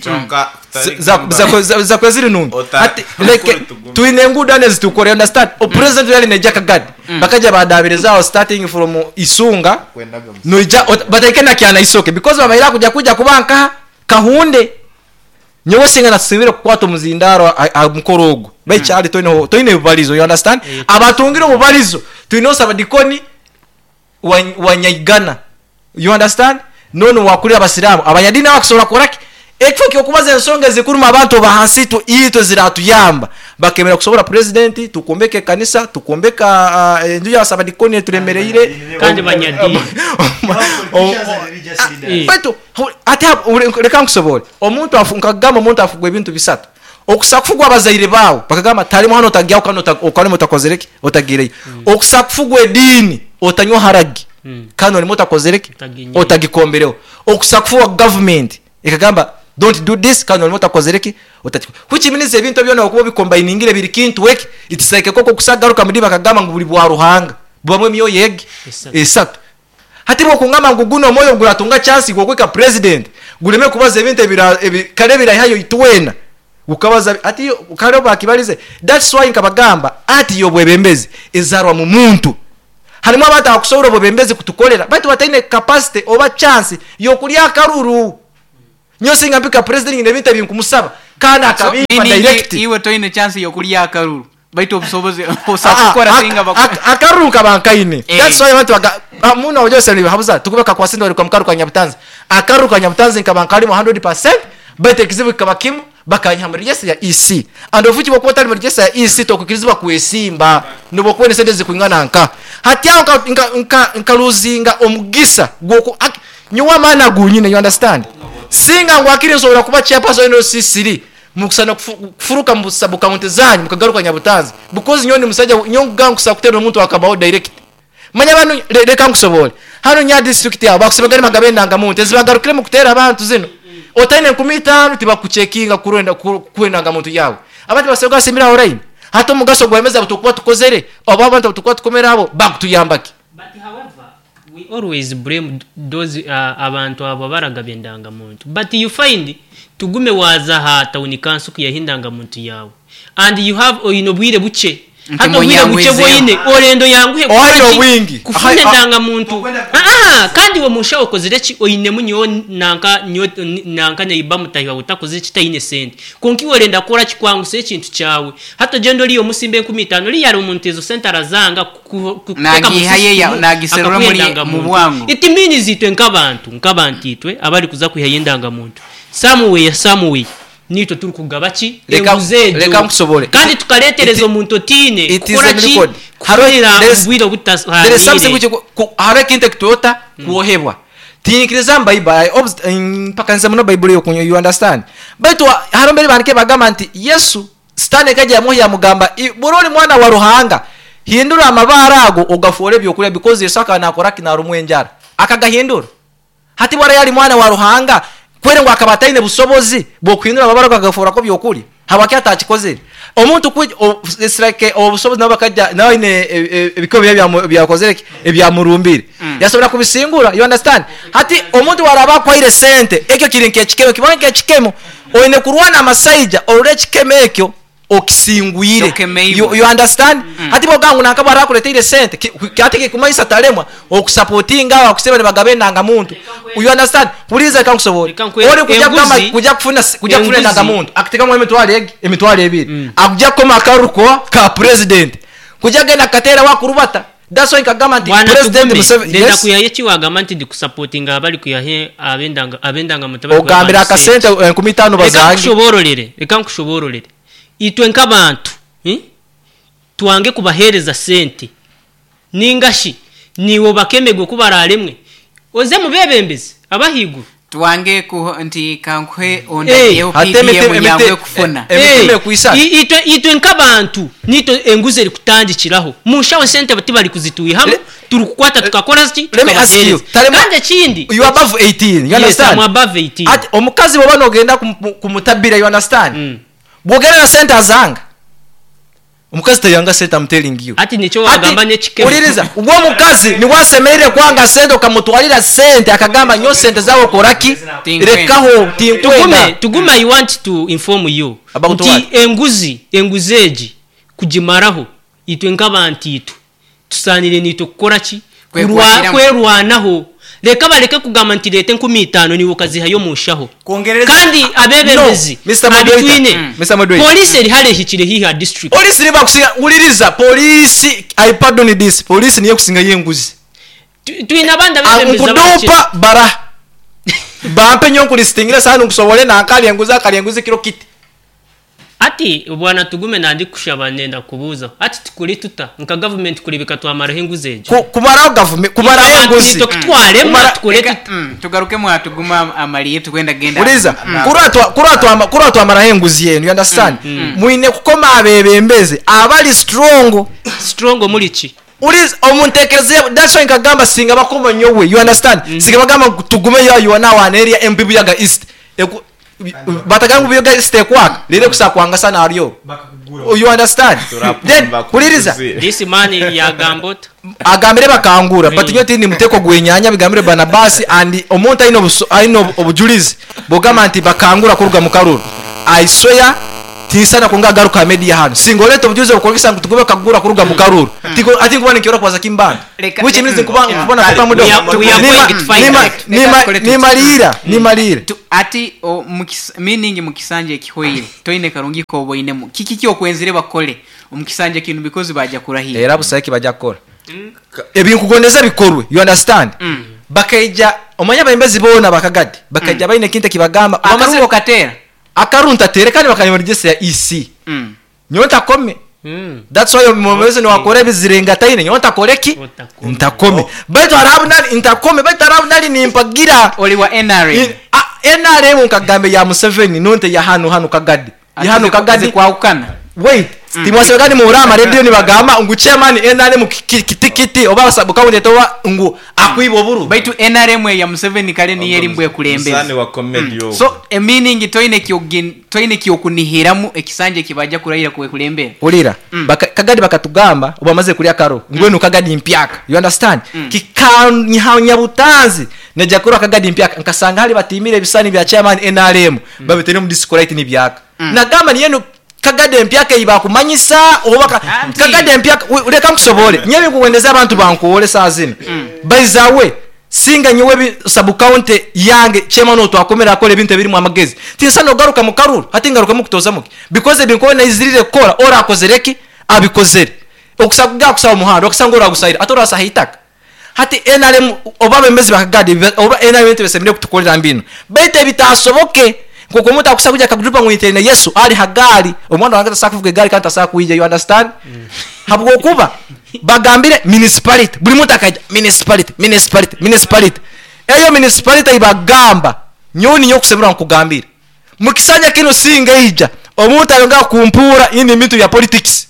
za kweziri nungi ati like tuine ngudane zitukore understand o president yali ne Jack Gad bakaja badabirezao starting from Isunga noija bataikena kyana isoke because babaira kuja kubanka kahunde nyowe singa nasibire kukwata omuzindaro mukorogo baikyali toine bubalizo, you understand? Abatungire obubalizo tuine osabadikoni wanyaigana, you understand? Nono wakulira abasiramu abanyadini abakusobola kukoraki ekifo kyokubaza ensonga ezikuruma abantu bahansi tu itwe ziratuyamba bakemera kusobola president tukombeke kanisa tukombeka enju ya sabadikoni tulemereire kandi banyadini baitu ate reka nkusobole omuntu afunkagamba omuntu afugwa ebintu bisatu okusakufugwa abazaire bawe bakagamba talimu hano otagyaho kandi okalimo otakozereki otagireyo okusakufugwa edini otanywa haragi kandi olimo otakozereki otagikombereho okusakufugwa government ekagamba don't do this kandi olimo otakozereki otati which means ebintu byona okuba bikombainingire biri kintu weki it's like koko kusagaruka muri bakagamba ngu buli bwa ruhanga bwamwe myoyo yegi esatu hati bwo kungamba ngu guno moyo guratunga chance gwokweka president guleme kubaza ebintu kale birahayo itwena ukabaza ati kale bakibalize that's why nkabagamba ati yo bwebembezi ezarwa mu muntu halimu abantu akusobola bwebembezi kutukolera baitu bataine capacity oba chance yokulya akaruru nyosinga mpika president ngine bintu binkumusaba kana akabipa direct iwe toine chance yokulya akaruru Baitu obusobozi osakukora singa Akaruru nkaba nkaine. Eh. That's why abantu muno ojose nibahabuza tukuba kakwasinde wali kwa mukaru ka Nyabutanzi. Akaruru ka Nyabutanzi nkaba nkalimu 100%, baitu ekizibu kikaba kimu bakanyiha muri register ya EC. And ofuki bwokuba otali muri register ya EC tokukirizibwa kwesimba nibwokuba esente zikwingana nka. Hati aho nkaluzinga omugisa gwoku nyowe maana gunyine, you understand? Singa ngwakiri nsobola kuba chairperson wa NCC mukusana kufuruka mu sub county zanyu mukagaruka Nyabutanzi, because nyowe ni musajja nyowe nkuga nkusa kutera omuntu akabaho direct. Manya banu leka nkusobole hano nya district yabo bakusebagani magabe ndanga muntu ezibagarukire mu kutera abantu zino otaine 5000 tibakuchekinga kurenda kwenda muntu yawe. Abantu basebwa basimira online hata omugaso gwemeza butukuba tukozere oba abantu butukuba tukomera abo bakutuyambaki. But however, we always blame those abantu abo baragabye ndangamuntu, but you find tugume waza ha town council kuyahinda muntu yawe and you have oyino bwire buche Nti hata bwire buche munyangwezeho. bwoyine orendo yanguhe Ohayo kuki bwingi. kufuna ndangamuntu. Kandi we mushaho okozire ki oyine munyo nanka nyo nanka neiba mutahiwa utakoze kitayine sente konki orenda kora kikwanguse ekintu cyawe hata gendo liyo musimbe 15 li yari omuntu ezo sente arazanga Nagihaye nagiserura muri mu bwangu. It means itwe nkabantu itwe abari kuza kwihaye indangamuntu somewhere somewhere nitwe turi kugaba ki Reka- enguzi ejo. reka nkusobole. Kandi tukaretereza omuntu otine It is kukora a ki record. kufunira There is- obwire There is something obutahanire which hariho ekintu ekitwota kuohebwa tinkiriza mbaibuli mpaka nze muno baibuli yokunywa, you understand? Baitu hariho mbere bandike bagamba nti Yesu sitani ekajja yamuha yamugamba, buri mwana wa Ruhanga hindura amabara ago ogafuore ebyokurya, because Yesu akaba nakora ki narumwa enjara akagahindura. Hati bwara yali mwana wa Ruhanga kwere ngo akaba ataine busobozi bwokuhindura amabara ago agafuura ko byokurya, habwaki atakikozere? Omuntu it's like obusobozi nabo bakajja nawe aine ebikomo bye byakozere ki? Ebyamurumbire. Yasobora kubisingura, you understand? Hati omuntu waraba akwaire sente ekyo kiri nk'ekikemo, kibona nk'ekikemo oine kurwana amasaija orore ekikemo ekyo okisingwire. Okemeibwe. You understand? Hati boga ngu nakaba arakuleteire sente ate kikumanyisa talemwa okusupportinga abo akuseba nibagabe endangamuntu, you understand? Puliza reka nkusobole. Reka nkwe- Ori kujya kugamba enguzi- kujya kufuna kujya kufuna enguzi- endangamuntu akutekamu emitwaro egi emitwaro ebiri akujya kukoma akaruko ka president kujya genda katera wakurubata. That's why nkagamba nti Bwana President Tugume, Museveni, ndenda yes. kuyaye ki wagamba nti ndikusupportinga abari kuyahe abendangamuntu abari kuyaha Ogambira abantu sente. akasente 5000 Reka bazange. nkushobororere, reka nkushobororere itwe nk'abantu, twange kubahereza sente ningashi niwo bakemegwe kubararemwe oze mubebembezi abahiguru Twange ku nti kankuhe ondayeho Ate PDM yangwe kufuna. emiti ekuisa. Itwe nk'abantu nitwe enguzi eri kutandikiraho munshaho sente tibari kuzituihamu turi kukwata tukakora ki Let me ask you, tukabahereza. Kandi ekindi You are above 18, you Yes, understand? I'm above 18. Ati omukazi bwoba nogenda kumutabira, you understand? Bwogenda na sente azanga omukazi tayanga sente, I'm telling you. Ati nikyo wagamba Ati, n'ekikemo. uliriza ubwo omukazi niwasemerire kwanga sente okamutwalira sente akagamba nyo sente zawe okoraki Tinkwenda. rekaho tinkwenda. Tugume, I want to inform you About nti what? enguzi egi kugimaraho itwe nk'abantu itwe tusanire nitwe kukora ki Kwekwatiramu. Kwerwanaho reka bareke kugamba nti leta 5000 niwe ukazihayo mushaho. Kwongereza- Kandi abebembezi No, Mr. Moderator. abitwine. Mr. Moderator. Polisi eri hare ehikire hiha district. Polisi niba kusinga uliriza polisi, I pardon this, polisi niyo kusinga yenguzi. Twine abandi abebembezi abakire. Nkudupa bara bampe nyo nkulistingira sana nkusobole na akali enguzi akali enguzi kiro kiti. Ati bwana Tugume nandi kushaba nenda kubuza ati tukuri tuta nka government kulibika twamaraho enguzi egyo. Kumaraho government kumaraho Abantu enguzi nitwe kutwaremu Kumara- tukore Reka, tuta. tugaruke mwatuguma amaliye tukwenda genda. Uliza kura twamaraho enguzi yenu, you understand? Mwine kukoma abebembezi abali strong. Strong muri ki? Uliza omuntekereze, that's why nkagamba singa bakoma nyowe, you understand? Singa bagamba tugume yo, you are now an area MP Buyaga East. Batagamba Buyaga East ekwaka lere kusakwanga sana ariyo, you understand? Then uliriza This man yagambota agambire bakangura but nyo tindi muteko gwenyanya bigambire Barnabas and omuntu aine aine obujulizi bugamba nti bakangura kuruga mu karuru. I swear tinsana kunga garuka media hano singoleta obujulizi obukolekesa ngu tugube kagura kuruga mu karuru. Tiko ati nkubona nkiora kwaza kimbanda Reka- which means nkuba nkubona kupa mudo. We are going to find out. Nimalira nimalira. Ati o, meaning mukisanje ekihweire toine karungi koboinemu kiki kyokwenzire bakole Omu kisanja kinu because bajja kurahira. Era busaho eki bajja kukora. Ebinkugondeza bikorwe, you understand? Bakaija omanya abembezi boona bakagadi bakaija baine ekintu ekibagamba. Akarubo okateera. Akaru ntateere kandi bakanyomoregyesa ya EC. Nyowe ntakome. That's why omwebembezi niwakora ebizirengataine nyowe ntakore ki? Otakome. Ntakome. Baitu hariho abu nari ntakome baitu hariho abu nari nimpagira. Oli wa NRM. NRM nkagamba eya Museveni nonte ya hanu hanu Kagadi. Ya hanu Kagadi. Zikwahukana. Wait, timwasebe kandi muhurira aha marediyo nibagamba ngu chairman NRM kiti kiti oba sub-county oba ngu akwiba oburu. Baitu NRM eya Museveni kare niyo eri mbwe ekulembeze. Muzaani wa comedy ogwo. So a meaning toine kyogin toine kyokunihiramu ekisanja ekibaja kurahira kwekulembera. Hurira, Kagadi bakatugamba obu bamaze kurya akaro mbwenu Kagadi mpyaka, you understand? Kikanyiha butanzi najya kurora Kagadi mpyaka nkasanga hari batimire ebisani bya chairman NRM babiteire omu disco light nibyaka. Nagamba niyo Kagadi empyaka ei bakumanyisa oba Kagadi empyaka reka nkusobore. Nyewe nkuwendeza abantu bankuwore saa zino. Baizawe singa nyewe sub county yange chairman otwakomera akora ebintu ebirimu amagezi. Tinsa nogaruka mu karuru hati ngaruka mu kutoza muki because ebinko naizirire kukora ora akozereki abikozere. Okusakuga kusaba muhanda okusanga ora gusaira atora sahitaka. Hati NRM oba bembezi bakagadi oba NRM tebesemire kutukolera mbino. Bete bitasoboke kuko omuntu akusa kuja akagrupa ngu nitene Yesu ali hagari omwana wange tasaka kuvuga egari kandi tasaka kuija, you understand? Habwokuba bagambire municipality buli muntu akaija municipality municipality municipality. Eyo municipality ibagamba nyoni nyokusemura nkugambira mukisanya kino singa ija omuntu ayonga kumpura ini bintu bya politics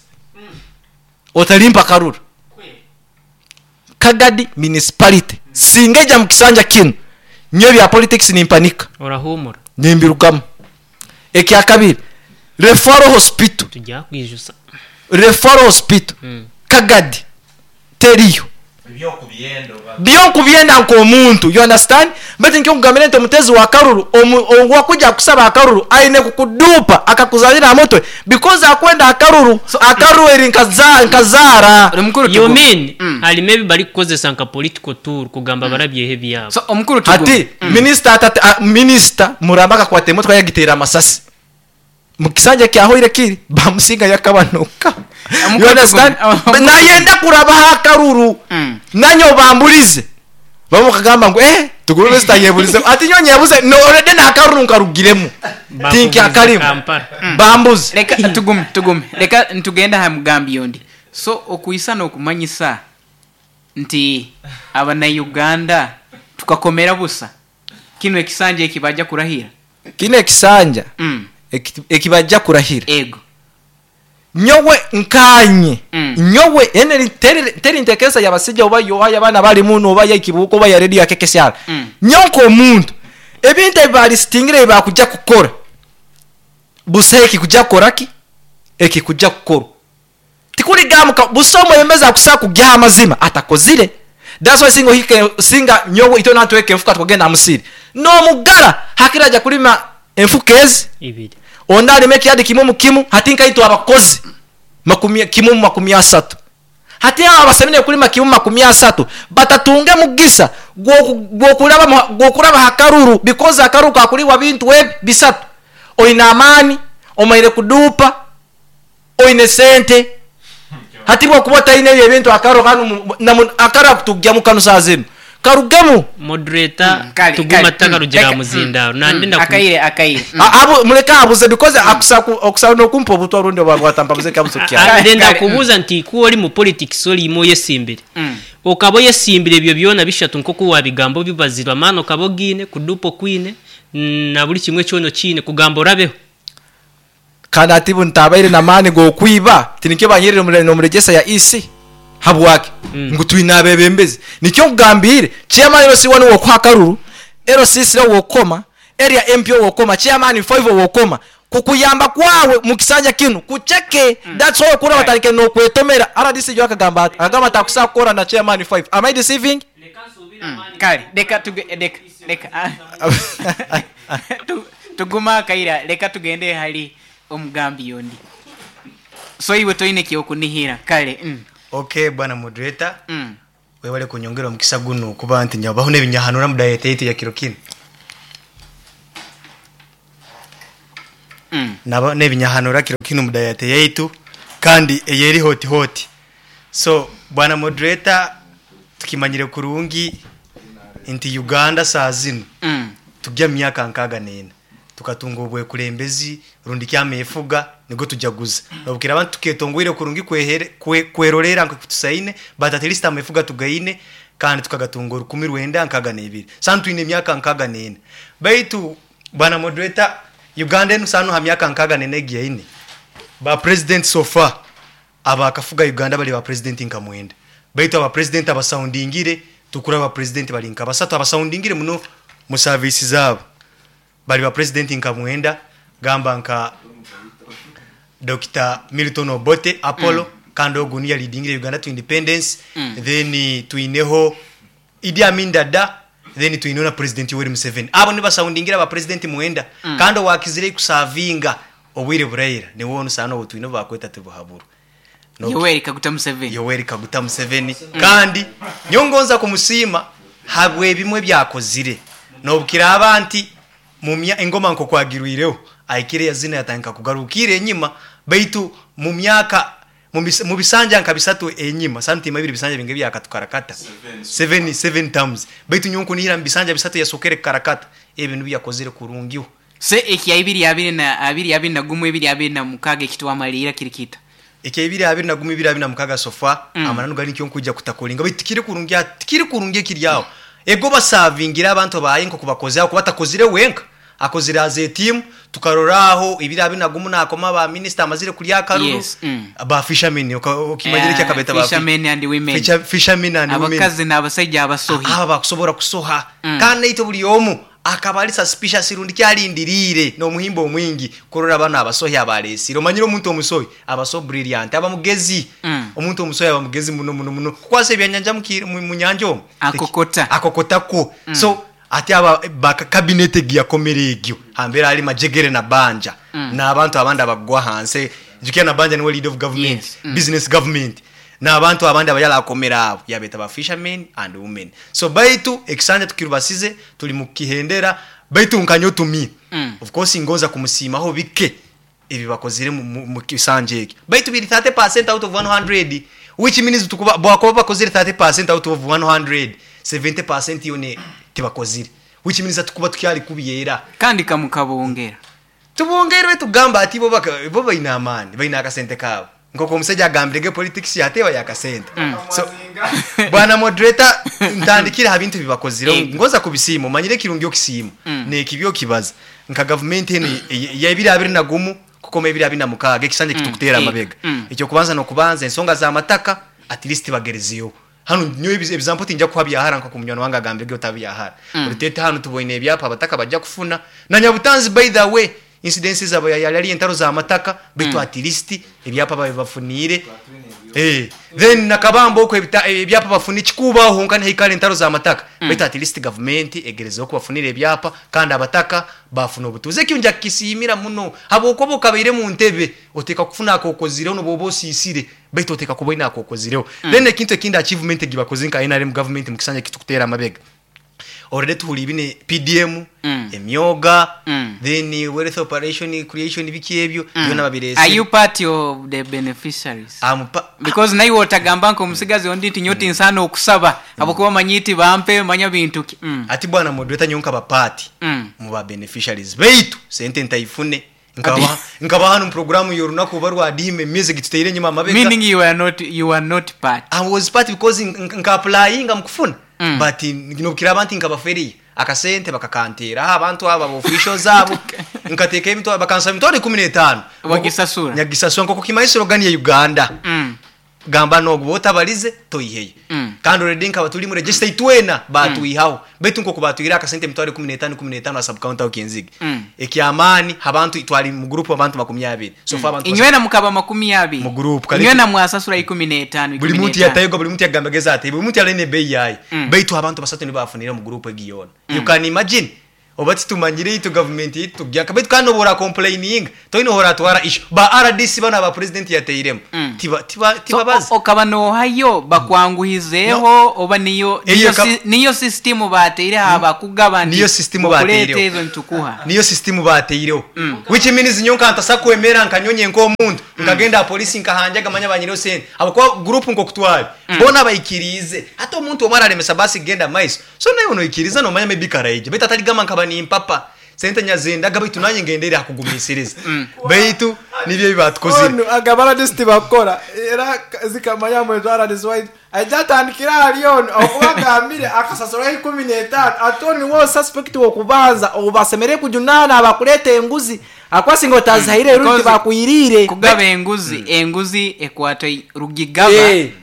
otalimpa karuru. Kagadi municipality singa ija mukisanja kino nyo bya politics nimpanika orahumura nimbirugamu. Ekya kabiri referral hospital tujya kwijusa referral hospital Kagadi teriyo byokubyenda nkomuntu, you understand? But nkyo kugambira nti omutezi wa karuru owakuja kusaba akaruru aine kukudupa akakuzalira mutwe because akwenda akaruru so, akaruru eri nkazara. Omukuru you mean ali maybe bari kukozesa nka political tour kugamba barabyehe byabo. So omukuru tugu ati minister minister muramba akakwata emotoka yagitera amasasi mukisanja kyahoire kiri bamusinga yakabanuka. You understand? Nayenda kuraba akaruru nanyo bambulize bamukagamba ngo tugurube zitayebulize ati nyonye yabuze no already na akaruru nkarugiremu tinki akarimu bambuze. Reka tugume reka ntugenda ha mugambi yondi. So okuisa nokumanyisa nti abana Uganda tukakomera busa kino ekisanja ekibaja kurahira kino ekisanja ekibajja kurahira ego nyowe nkanye nyowe ene teri ntekesa yabasijja oba yohaya abana bali muno oba yakibuko oba ya radio yakekesyala nyonko omuntu ebintu ebali stingire bakujja kukora busa ekikujja koraki ekikujja kukora tikuligamuka busomo yemeza kusa kujja amazima atakozire. That's why singo hike singa nyowe itona tweke mfuka tukagenda musiri no mugara hakiraja kulima enfuka ezi ibiri onda alimeki yadi kimu kimu hati nkaitwa abakozi makumi kimu makumi asatu hati aba basemine kulima kimu makumi asatu batatunge mugisa gwokulaba hakaruru because akaruru kakuliwa bintu we bisatu oina amani omaire kudupa oine sente hati bwo kubota ine ebyo bintu akaro kanu akara kutugya mu kanu sazinu karugemu moderator tuguma takarugira muzindaro nandinda akaire abo muleka abuze because akusa no kumpa obutwa rundi obwatamba buze kabuzo kya ndenda kubuza nti ku oli mu politics oli mo yesimbire okabo yesimbire ebyo byona bishatu nkoko wabigambo bibazirwa mano kabogine kudupo kwine na buli kimwe cyono kine kugamba orabeho kandi atibu ntabaire na mani go kwiba tinikyo banyirire no muregesa ya EC habwake ngu twina abebembezi nikyo ngambire chairman LC1 wo kwa karuru LC6 wo koma area MP wo koma chairman 5 wo koma kukuyamba kwawe mukisanja kinu kucheke. That's why kura batarike no kwetomera RDC yo akagamba akagamba takusa kora na chairman 5. Am I deceiving? Kale deka deka tuguma kaira leka tugende hali omugambi yondi. So iwe toine kyokunihira kale. Okay bwana moderator. Webale kunyongera omukisa guno kuba nti nyabaho n'ebinyahanura mu diet yaitu ya kiro kino. Naba n'ebinyahanura kiro kino mu diet yaitu. Kandi eyeri hoti hoti. So bwana moderator, tukimanyire kurungi nti Uganda saa zinu tujya mu myaka 64 tukatunga obwekulembezi rundi kyamefuga nigo tujaguza nobukira abantu tuketongwire kurungi kwerorera nko kutusaine, but at least amefuga tugaine kandi tukagatunga 1962. Sanu twine emyaka 64. Baitu bwana moderator, Uganda enu sanu ha myaka 64 egiyaine ba president so far abakafuga Uganda bali ba president nka 9. Baitu aba president abasoundingire tukura ba president bali nka 3 abasoundingire muno mu service zabo bali ba president nka 9, gamba nka Dr. Milton Obote Apollo, kandi ogu niye leadingire Uganda to independence. Then twineho Idi Amin Dada, then twineho na President Yoweri Museveni. Abo nibasoundingira aba president 9. Kandi owakizire kusavinga obwire buraira niwe onu sana obu twine bakweta tibuhaburu. Yoweri Kaguta Museveni. Yoweri Kaguta Museveni. Kandi nyongonza kumusiima habwe ebimwe byakozire nobukira abantu mumya engoma nko kwagirwireho aikire yazina yatanga kugarukire enyima, baitu mu myaka mu bisanja nka bisatu enyima santima ibiri bisanja binge byakatukarakata 7 times, baitu nyonko nihira mu bisanja bisatu yasokere karakata ebintu byakozire kurungiho. Se ekya ibiri abiri na abiri abiri na gumwe ibiri abiri na mukaga ekitwamalira kirikita ekya ibiri abiri na gumwe ibiri abiri na mukaga sofa. Amananu gari nkyo nkujja kutakolinga baitu tikiri kurungi, tikiri kurungi ekiryaho ego basavingira abantu baye nko kubakoze aho kubatakozire wenka akozire aze team tukaroraho ibiri abiri na gumu nakoma ba minister amazire kulya karuru. Yes. Ba fishermen okimanyire yeah, kyakabeta ba fishermen and women, fishermen and women, abakazi n'abasajja abasohi aba bakusobora kusoha. Kandi ito buli omu akaba ali suspicious rundi kyalindirire n'omuhimbo omwingi kurora bana abasohi abalesire. Omanyire omuntu omusohi aba so brilliant, aba mugezi. Omuntu omusohi aba mugezi muno muno muno kukwasa ebyanyanja mu nyanja omwo akokota akokotako. So ati aba cabinet giyakomere egyo hambera ali majegere na banja n'abantu abandi abagwa hanse jukia na banja niwe leader of government. Yes. Business government n'abantu abandi abayala akomera abo yabeta ba fishermen and women. So baitu ekisanja tukirubasize tuli mukihendera baitu nkanyo tumi. Of course ngoza kumusimaho bike ebi bakozire mu kisanja eki baitu biri 30% out of 100, which means tukuba bwakoba bakozire 30% out of 100, 70% yone tibakozire, which means tukuba tukyali kubiyera kandi kamukabongera tubongerwe tugamba ati bo baina amani baina akasente kabo nkoko omusajja agambirege politics yatewa yakasente. So bwana moderator, ntandikira ha bintu bibakozire ngoza kubisiima omanyire kirungi okisiima nekibyo kibaza nka government eno ya 2021 kukoma 2026 ekisanja kitukutera amabega. Ekyo kubanza no kubanza ensonga za mataka at least bagerezeyo hano nyo example tinja kuha byahara nko kumunywana wanga agambirege otabyahara. Rutete hano tuboine ebyapa abataka bajja kufuna na Nyabutanzi. By the way, incidences abo yali entaro za mataka bitu at least ebyapa babibafunire. Then nakabambo okwe ebyapa bafuni kikubaho nkane hikale entaro za mataka bitu at least government egerezeho kubafunira ebyapa kandi abataka bafuna obutuze kyunja kisimira muno abo okobo kabeire mu ntebe oteka kufuna akokozire no bobo sisire bitu oteka kuboina akokozireho. Then ekintu ekindi achievement gibakoze nka NRM government mu kisanja kitukutera amabega already tuhuli ibine PDM, emyoga, then wealth operation creation biki ebyo byona babirese. Are you part of the beneficiaries? Because naye otagamba nko omusigazi ondi nti nyoti nsana okusaba abokuba manyiti bampe manya bintu ki. Ati bwana moderator nyonka ba party mu ba beneficiaries baitu sente ntaifune nkaba hano programu yorunaku barwa dime music tuteire nyuma amabega. Meaning you are not part. I was part because nka applyinga mukufuna. But nobukira abantu nkabaferiye akasente bakakantera abantu aba officials abo nkateka emitwaro bakansaba emitwaro 15 wagisasura nyagisasura nkoko kimaisiro gani ya Uganda. Gamba nogwo otabalize toyiheye. Kandi already nkaba tuli mu register itwena batuihaho baitu nkoko batuira akasente emitwaro 15 15 sub county okinzige. Ekyamani abantu itwali mu group abantu 20 so fa abantu inywena mukaba 20 mu group inywena mwasasura 15 buli muntu yatayego buli muntu yagambageza ati buli muntu yaline bei yayi baitu abantu basatu ni bafunira mu group egiyona. You can imagine Oba titumanyire itwe gavumenti yaitu tugyanka baitu kandi nobu orakomplaininga toine ohu oratwara issue. Ba RDC banu aba president yateiremu tibabaza. So okaba nohayo bakwanguhizeeho oba niyo Eyo niyo system bateireho abakugaba nti Niyo system okuleta bateireho. ezo nitukuha. Niyo system bateireho. Which means nyowe nkantasa kwemera nkanyonye nk'omuntu nkagenda aha polisi nkahanjaga manya banyireho sente. Habwokuba group nk'okutwari boona baikiriize. Hati omuntu omwe araremesa basi kugenda maiso. So naiwe noikiriza nomanya maybe karaija. Baitu atarigamba nkaba nimpapa. Sente nyazendaga baitu nanye ngendere aha kugumisiriza. Baitu nibyo ebi batukozire. Onu agaba RDC tibakora era zikamanya mwetu RDC waitu aija atandikira ahari onu okuba agambire akasasuraho 15 ate onu niwe suspect w'okubanza ou basemereire kujunaana abakureeta enguzi ahakuba singa otazihaire rundi Because tibakwiriire. Kugaba enguzi, enguzi ekwata rugigaba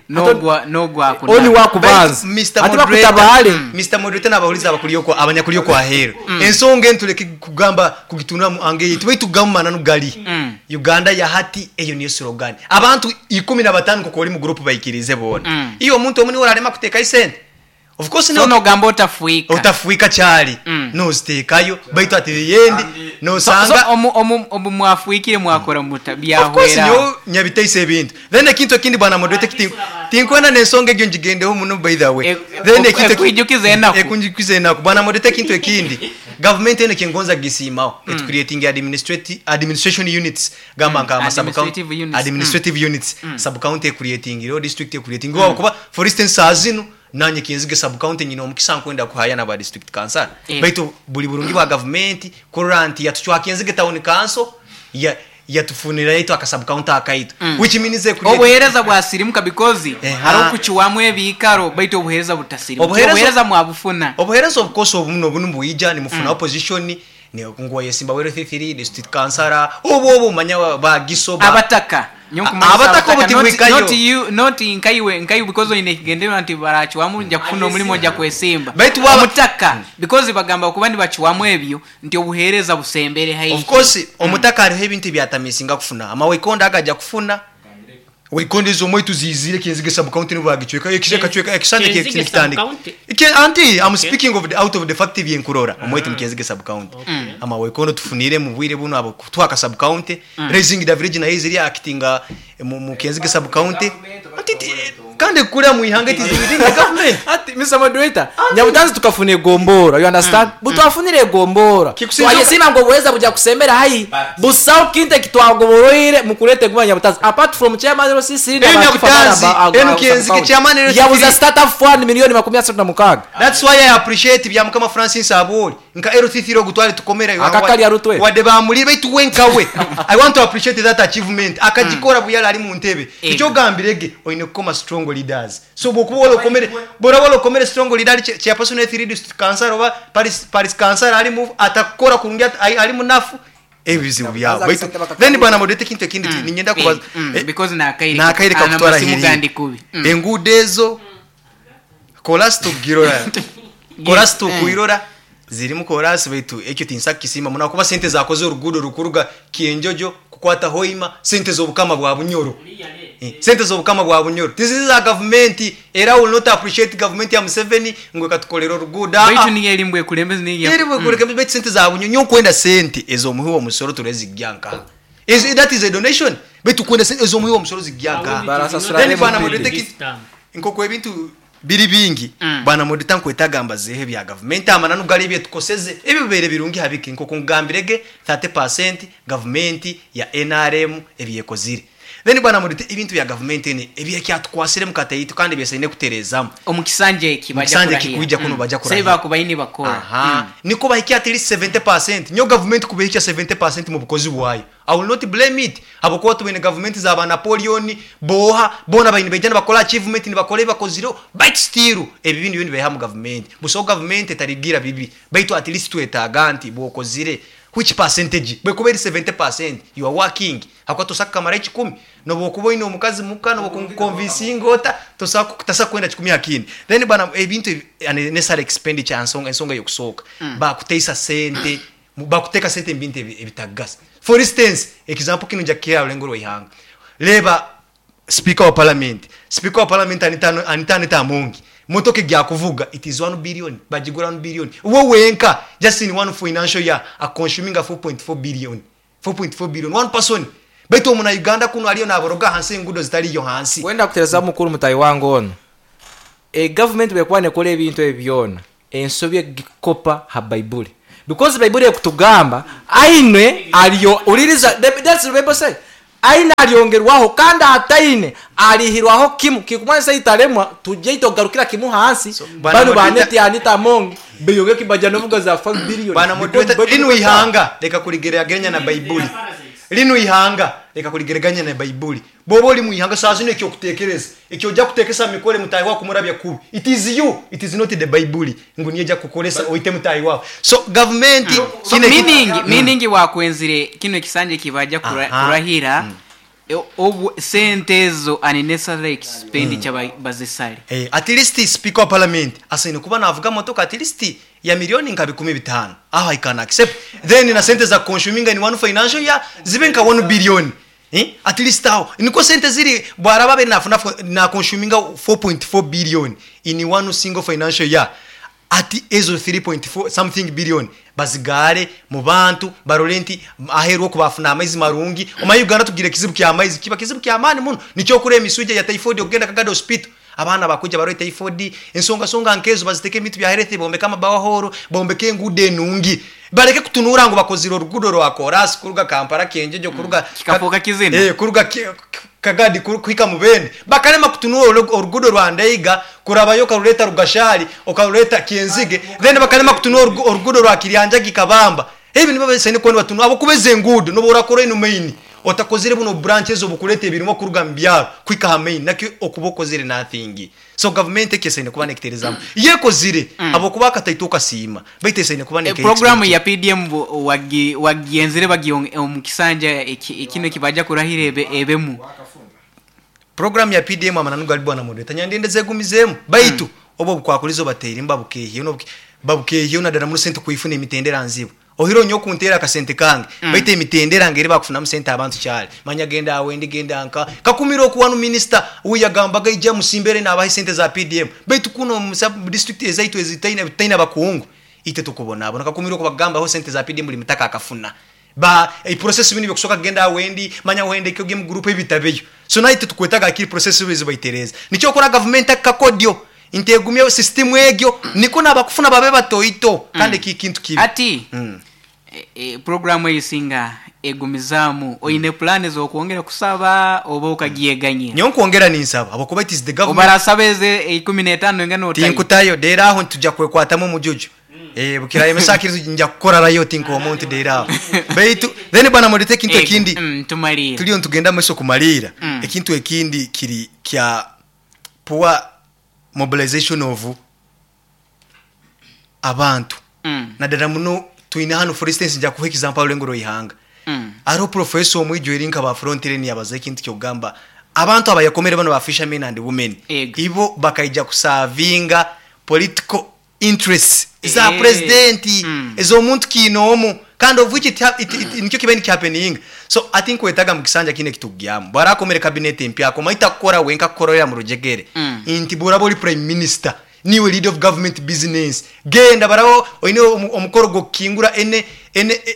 n'ogwa Onu kunaba. wakubanza. Baitu, Mr. Ate Moderator, bakutabare. Mr. Moderator n'abahuriza abanyakuri okwa aheeru. Ensonga enu tuleke kugamba kugitunura mu ange yaitu baitu tugambe mananu gari. Uganda ya hati eyo niyo slogan. Abantu 15 nk'oku ori mu group baikirize boona. Iyo omuntu omwe niwe orarema kuteekayo sente. Of course So niwe nogamba otafuika. Otafuika kyari. Noziteekayo baitu ati yendi nosanga So, omu mwafuikire mwakora muta Of course byahwera. nyowe nyabiteisa ebintu. Then ekintu ekindi bwana moderator tinkwenda n'ensonga egyo ngigendeho muno by the way. Then ekintu Ekwijukiza enaku. Ekwijukiza enaku. Bwana moderator ekintu ekindi. Government eno kingonza gisiimaho. It creating administration units. Gamba nka ama sub county Administrative units. Administrative units. Sub county creating, ro district creating. Kuba for instance azino nanye kinzige sub county nyina omukisa nkwenda kuhaya na ba district council. Baitu buli burungi bwa government kurora nti yatuchwa kinzige town council yatufunira yaitu aka sub county akaitu. Which means create Obuhereza bwasirimuka because hariho kukiwamu ebikaro baitu obuhereza butasirimuka. Obuhereza mwabufuna. Obuhereza of course obuno bunu bwija ni mufuna opposition ni ngwa yesimba wero 33 district councilor obo manya ba giso ba Abataka. Nyo kumanyisa Abataka abataka. obuti bwikayo. Not you, not nkaiwe, nkaiwe because oyine ekigendererwa nti barakiwamu nja kufuna omurimo nja kwesimba. Baitu waba Omutaka because bagamba kuba nibakiwamu ebyo nti obuhereza busembere haihi. Of course omutaka hariho ebintu ebyatamisinga kufuna. Ama wekonda agaja kufuna. Wekonda ezo omwe tuzizire kinzige sub county nibo bagichweka ekisheka chweka ekisanja Kinzige kye kitandika. sub-county? Ike anti I'm speaking of the out of the fact byenkurora omwe tumkinzige sub county. Ama wekondo tufunire mu bwire buno abo kutwaka sub county. Raising the village na iziri actinga mu kinzige sub county. Anti kandi kura mu ihanga it is within the government. Ati Mr. Moderator, nyabutanzi tukafuna egombora, you understand? Butwafunire egombora. Kikusinza Twayesima ngo buweza buja kusemera hai. Busawo kinte kitwagoboroire mukulete guma nyabutanzi. Apart from chairman RCC na Enu bakifa Nyabutanzi, bana enu Kinzige chairman RCC. Yabuza startup fund milioni makumi asatu na mukaga. That's why I appreciate bya Mukama Francis Aboli. Nka RCC ro gutware tukomera Akakali arutwe. Wade bamuli baitu wenkawe. I want to appreciate that achievement. Akagikora buyala ali mu ntebe. Icyo gambirege oyine kukoma strong leaders. So bokuba wala okomere, bora wala okomere strong leader chairperson wa 3 district council oba Paris council ali mu atakora kurungi ali munafu. Ebizibu byawe. Baza Baitu, kusente bakakabiri. then bwana modete kintu ekindi ninyenda kubaza. Because nakaire Nakaire kakutwara amasimu hiri. gandi kubi. Enguudo ezo kolasi tugirora. Kolasi tukuirora. Zirimu kolasi baitu ekyo tinsa kisima muna kuba sente zakoze oruguudo rukuruga Kienjojo kukwata Hoima sente z'obukama bwa Bunyoro. Sente z'obukama bwa Bunyoro. Tizizi za government era will not appreciate government ya Museveni ngo katukolera oruguudo. Baitu niyo erimbwe kulembezi niyo. Erimbwe kulembezi baitu sente za Bunyoro nyo kwenda sente ezomuhiwa omusoro turezijjanka. Is that is a donation? Baitu kwenda sente ezomuhiwa omusoro zijjanka. Barasasura Then ne bwana mupindi. modete nkoko ebintu biri bingi. Bwana modete nkwetagamba zehe bya government amananu gali bye tukoseze ebibere birungi habiki nkoko ngambirege 30% government ya NRM ebyekozire. Then bwana modete ebintu bya government ene ebyekyatukwasire mukateitu kandi byesaine kuterezamu. Omukisanje eki bajja Omukisanje kurahira. kikuija kuno bajja kurahira. Sasa bakubaini bakora. Niko bahikia at least 70%. Nyo government kubahikia 70% mu bukozi bwayo. I will not blame it. Abokuba tubene government za ba Napoleon, boha, bona bayini bejana bakola achievement ni bakole bakoziro, but still ebi bintu bindi beha mu government. Buso government etarigira bibi. Baitu at least twetaga nti bokozire which percentage? Bwekuberi 70% you are working. Hakwa tosaka kamara 10. Nobo kuba ino omukazi muka nobo convincing ota tosaka tasa kwenda 10 akini. Then bana ebintu necessary expenditure ensonga ensonga yokusoka. Bakuteisa sente, bakuteka sente mbintu ebitagasa. For instance, example kino nja kia olengo rwihanga. Leba speaker wa parliament. Speaker wa parliament anitano tamungi. Motoka egyakuvuga it is 1 billion, bagigura 1 billion. Uwe wenka just in one financial year aconsuminga 4.4 billion. 4.4 billion one person. Baitu omuna Uganda kuno aliyo naboroga hansi engudo zitaliyo hansi. Wenda kutereza mukuru mutayi wange ono. Government bwekuba nekola ebintu ebyo byona, ensobi egikopa ha Baibuli. Because Baibuli ekutugamba aine aliyo uliriza, that's the Bible say. Aine aliongerwaho kandi ataine alihirwaho kimu kikumanyisa italemwa tujye itogarukira kimu hansi. So, bwana bano moderator- baneti Anita Among beyonge kibaja novuga za 5 billion. Bwana moderator, lino ihanga reka kurigereranya na Baibuli. Lino ihanga reka kurigereranya na Baibuli. Bobo oli mu ihanga saa zino ekyo kutekereza. Ekyo ojja kutekesa mikole mutayi wako kumurabya kubi. It is you, it is not the Bible. Ngu niye ejja kukolesa oite mutayi wako. So government So, kine meaning wakwenzire kino ekisanja kibaja kurahira. Obu sente ezo unnecessary expenditure bazisale. At least speaker wa parliament asaine kuba navuga motoka at least ya milioni nka 15. Aho I can accept. Then na sente za consuming in one financial year zibe nka 1 billion. At least aho niko sente ziri bwaraba be nafuna na consuming 4.4 billion in one single financial year. Ati ezo 3.4 something billion bazigare mu bantu barore nti aherwo kubafuna amaizi marungi. Omayi Uganda tugire kizibu kya amaizi kiba kizibu kya amani muno nicyo kure emisuje ya typhoid okugenda Kagado hospital. Abana bakuja barore typhoid ensonga songa nkezo baziteke emitu bya health bombeka amabawahoro bombeke engude enungi bareke kutunura ngo bakozira orugudo rwa Koras kuruga Kampala Kenjejo kuruga Kikafuka kizina. Kuruga Kagadi kuhika mubende bakarema kutunura orugudo rwa Ndeiga kurabayo karuleta Rugashari okaruleta Kienzige then bakarema kutunura orugudo rwa Kiryanjagi Kabamba. Ebi nibo besene ko batunura abo kubeze engudo no borakora ino main otakozire buno branches obukuleta ebirimo kuruga mbyaro kwika ha main nakyo okubokozire nothing. So government ekesene kuba nekiterezamu yekozire abo kuba kataituka sima baitesene kuba nekiterezamu. Program ya PDM wagienzire bagion mu kisanja ekino kibaja kurahire ebemu. Program ya PDM amananu gali bwana moderator nyandende zegumizemu baitu obo bukwakulizo batera imbabukehiyo no babukehiyo na dara muri sente kuifuna emitendera nzibu. Ohiro nyo kuntera akasente kange baite emitendera ngeri bakufuna mu sente abantu cyale manya genda awendi genda nka kakumiro ku wanu minister uyagambaga ijya musimbere nabahe sente za PDM baitu kuno mu sub district ezaitu ezitaina bitaina bakungu ite tukubona abona kakumiro ko bagamba ho sente za PDM buli mutaka akafuna ba e process bini byokusoka genda awendi manya wende kyo game group ebitabeyo. So naite tukwetaga akiri process bizo baitereza nicyo kora government akakodio integumye system egyo niko nabakufuna babe batoito kandi kikintu kibi ati programu eyisinga egumizamu oyine plan zo kuongera kusaba oba okagyeganyira. Nyo nkwongera ninsaba abakuba it is the government obarasaba eze 15 engano otayo tinkutayo dera aho tujja kwekwatamu mujuju. Bukira emesakirizo nja kukora rayo tinko omuntu dera aho baitu then bana modite kintu ekindi tumalira tuliyo ntugenda meso kumalira ekintu ekindi kiri kya poor mobilization of abantu. Nadara muno tuine hano for instance nja kuha example lengoro ihanga. Aro professor omwijo erinka ba frontier ni abaza ekintu kyogamba abantu abayakomere bano ba fishermen and women. Ibo bakaija kusavinga political interests za president ezo omuntu kinomu kandi of which it nikyo kiba ni happening. So I think wetaga mu kisanja kine kitugyamu barakomere cabinet empya komaita kukora wenka kukorera mu rujegere. Inti burabo oli prime minister niwe leader of government business genda barawo oine omukoro gokingura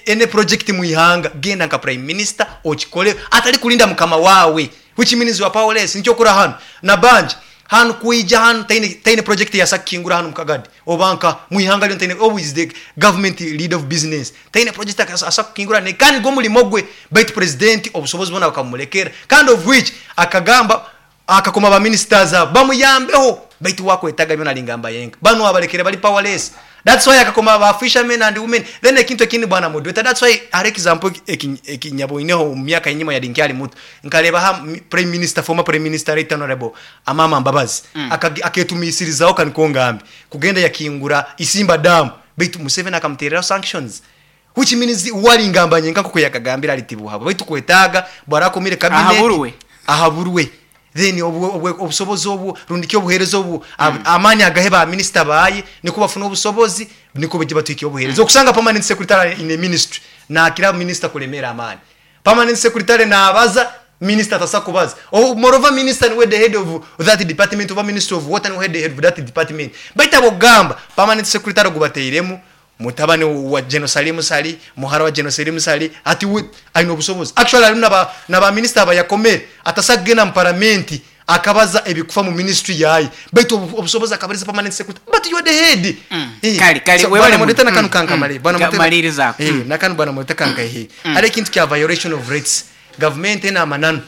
ene project mu ihanga genda nka prime minister okikole atali kulinda mukama wawe which means wa powerless. Nicyo kura hano na banje hano kuija hano taine project ya sakingura hano mukagadi obanka mu ihanga lyo taine always the government leader of business taine project asakingura ne kandi go mulimo gwe bait president obusobozi bona bakamulekera kandi of which akagamba akakoma ba ministers bamuyambeho baitu wakwetaga byona lingamba yenka bano abalekere bali powerless. That's why akakoma ba fishermen and women then ekintu ekindi bwana moderator. That's why are example ekinyaboineho mu myaka inyuma ya dinkyali muto nkaleba ha prime minister former prime minister right honorable Amama Mbabazi aketumisirizaho kanikongambi kugenda yakingura Isimba Dam baitu Museveni akamterera sanctions which means walingamba nyenka kuko yakagambira alitibuhabo baitu kwetaga bwarakomire cabinet ahaburwe then obusobozi obu rundikyo obuherezo obu amani agahe ba minister bayi niko bafuna obusobozi niko bije batwike obuherezo. Okusanga permanent secretary in a ministry na kila minister kulemera amani permanent secretary na abaza Minister atasa kubaza. Oh, moreover, minister niwe the head of that department, oba Minister of Water niwe the head of that department. Baita bogamba permanent secretary gubateiremu mutabani wa General Salim Sali, muhara wa General Salim Sali, ati aina obusobozi. Actually, alimu naba minister abayakomere atasagenda mu parliament akabaza ebikufa mu ministry yayi, baitu obusobozi akabariza permanent secretary, but you are the head. Kale, So, webale bwana moderator, nakanu kankamale, bwana moderator. Malirizaako. Nakanu bwana moderator kankaihe. Hari ekintu kya violation of rates, gavumenti ena amananu.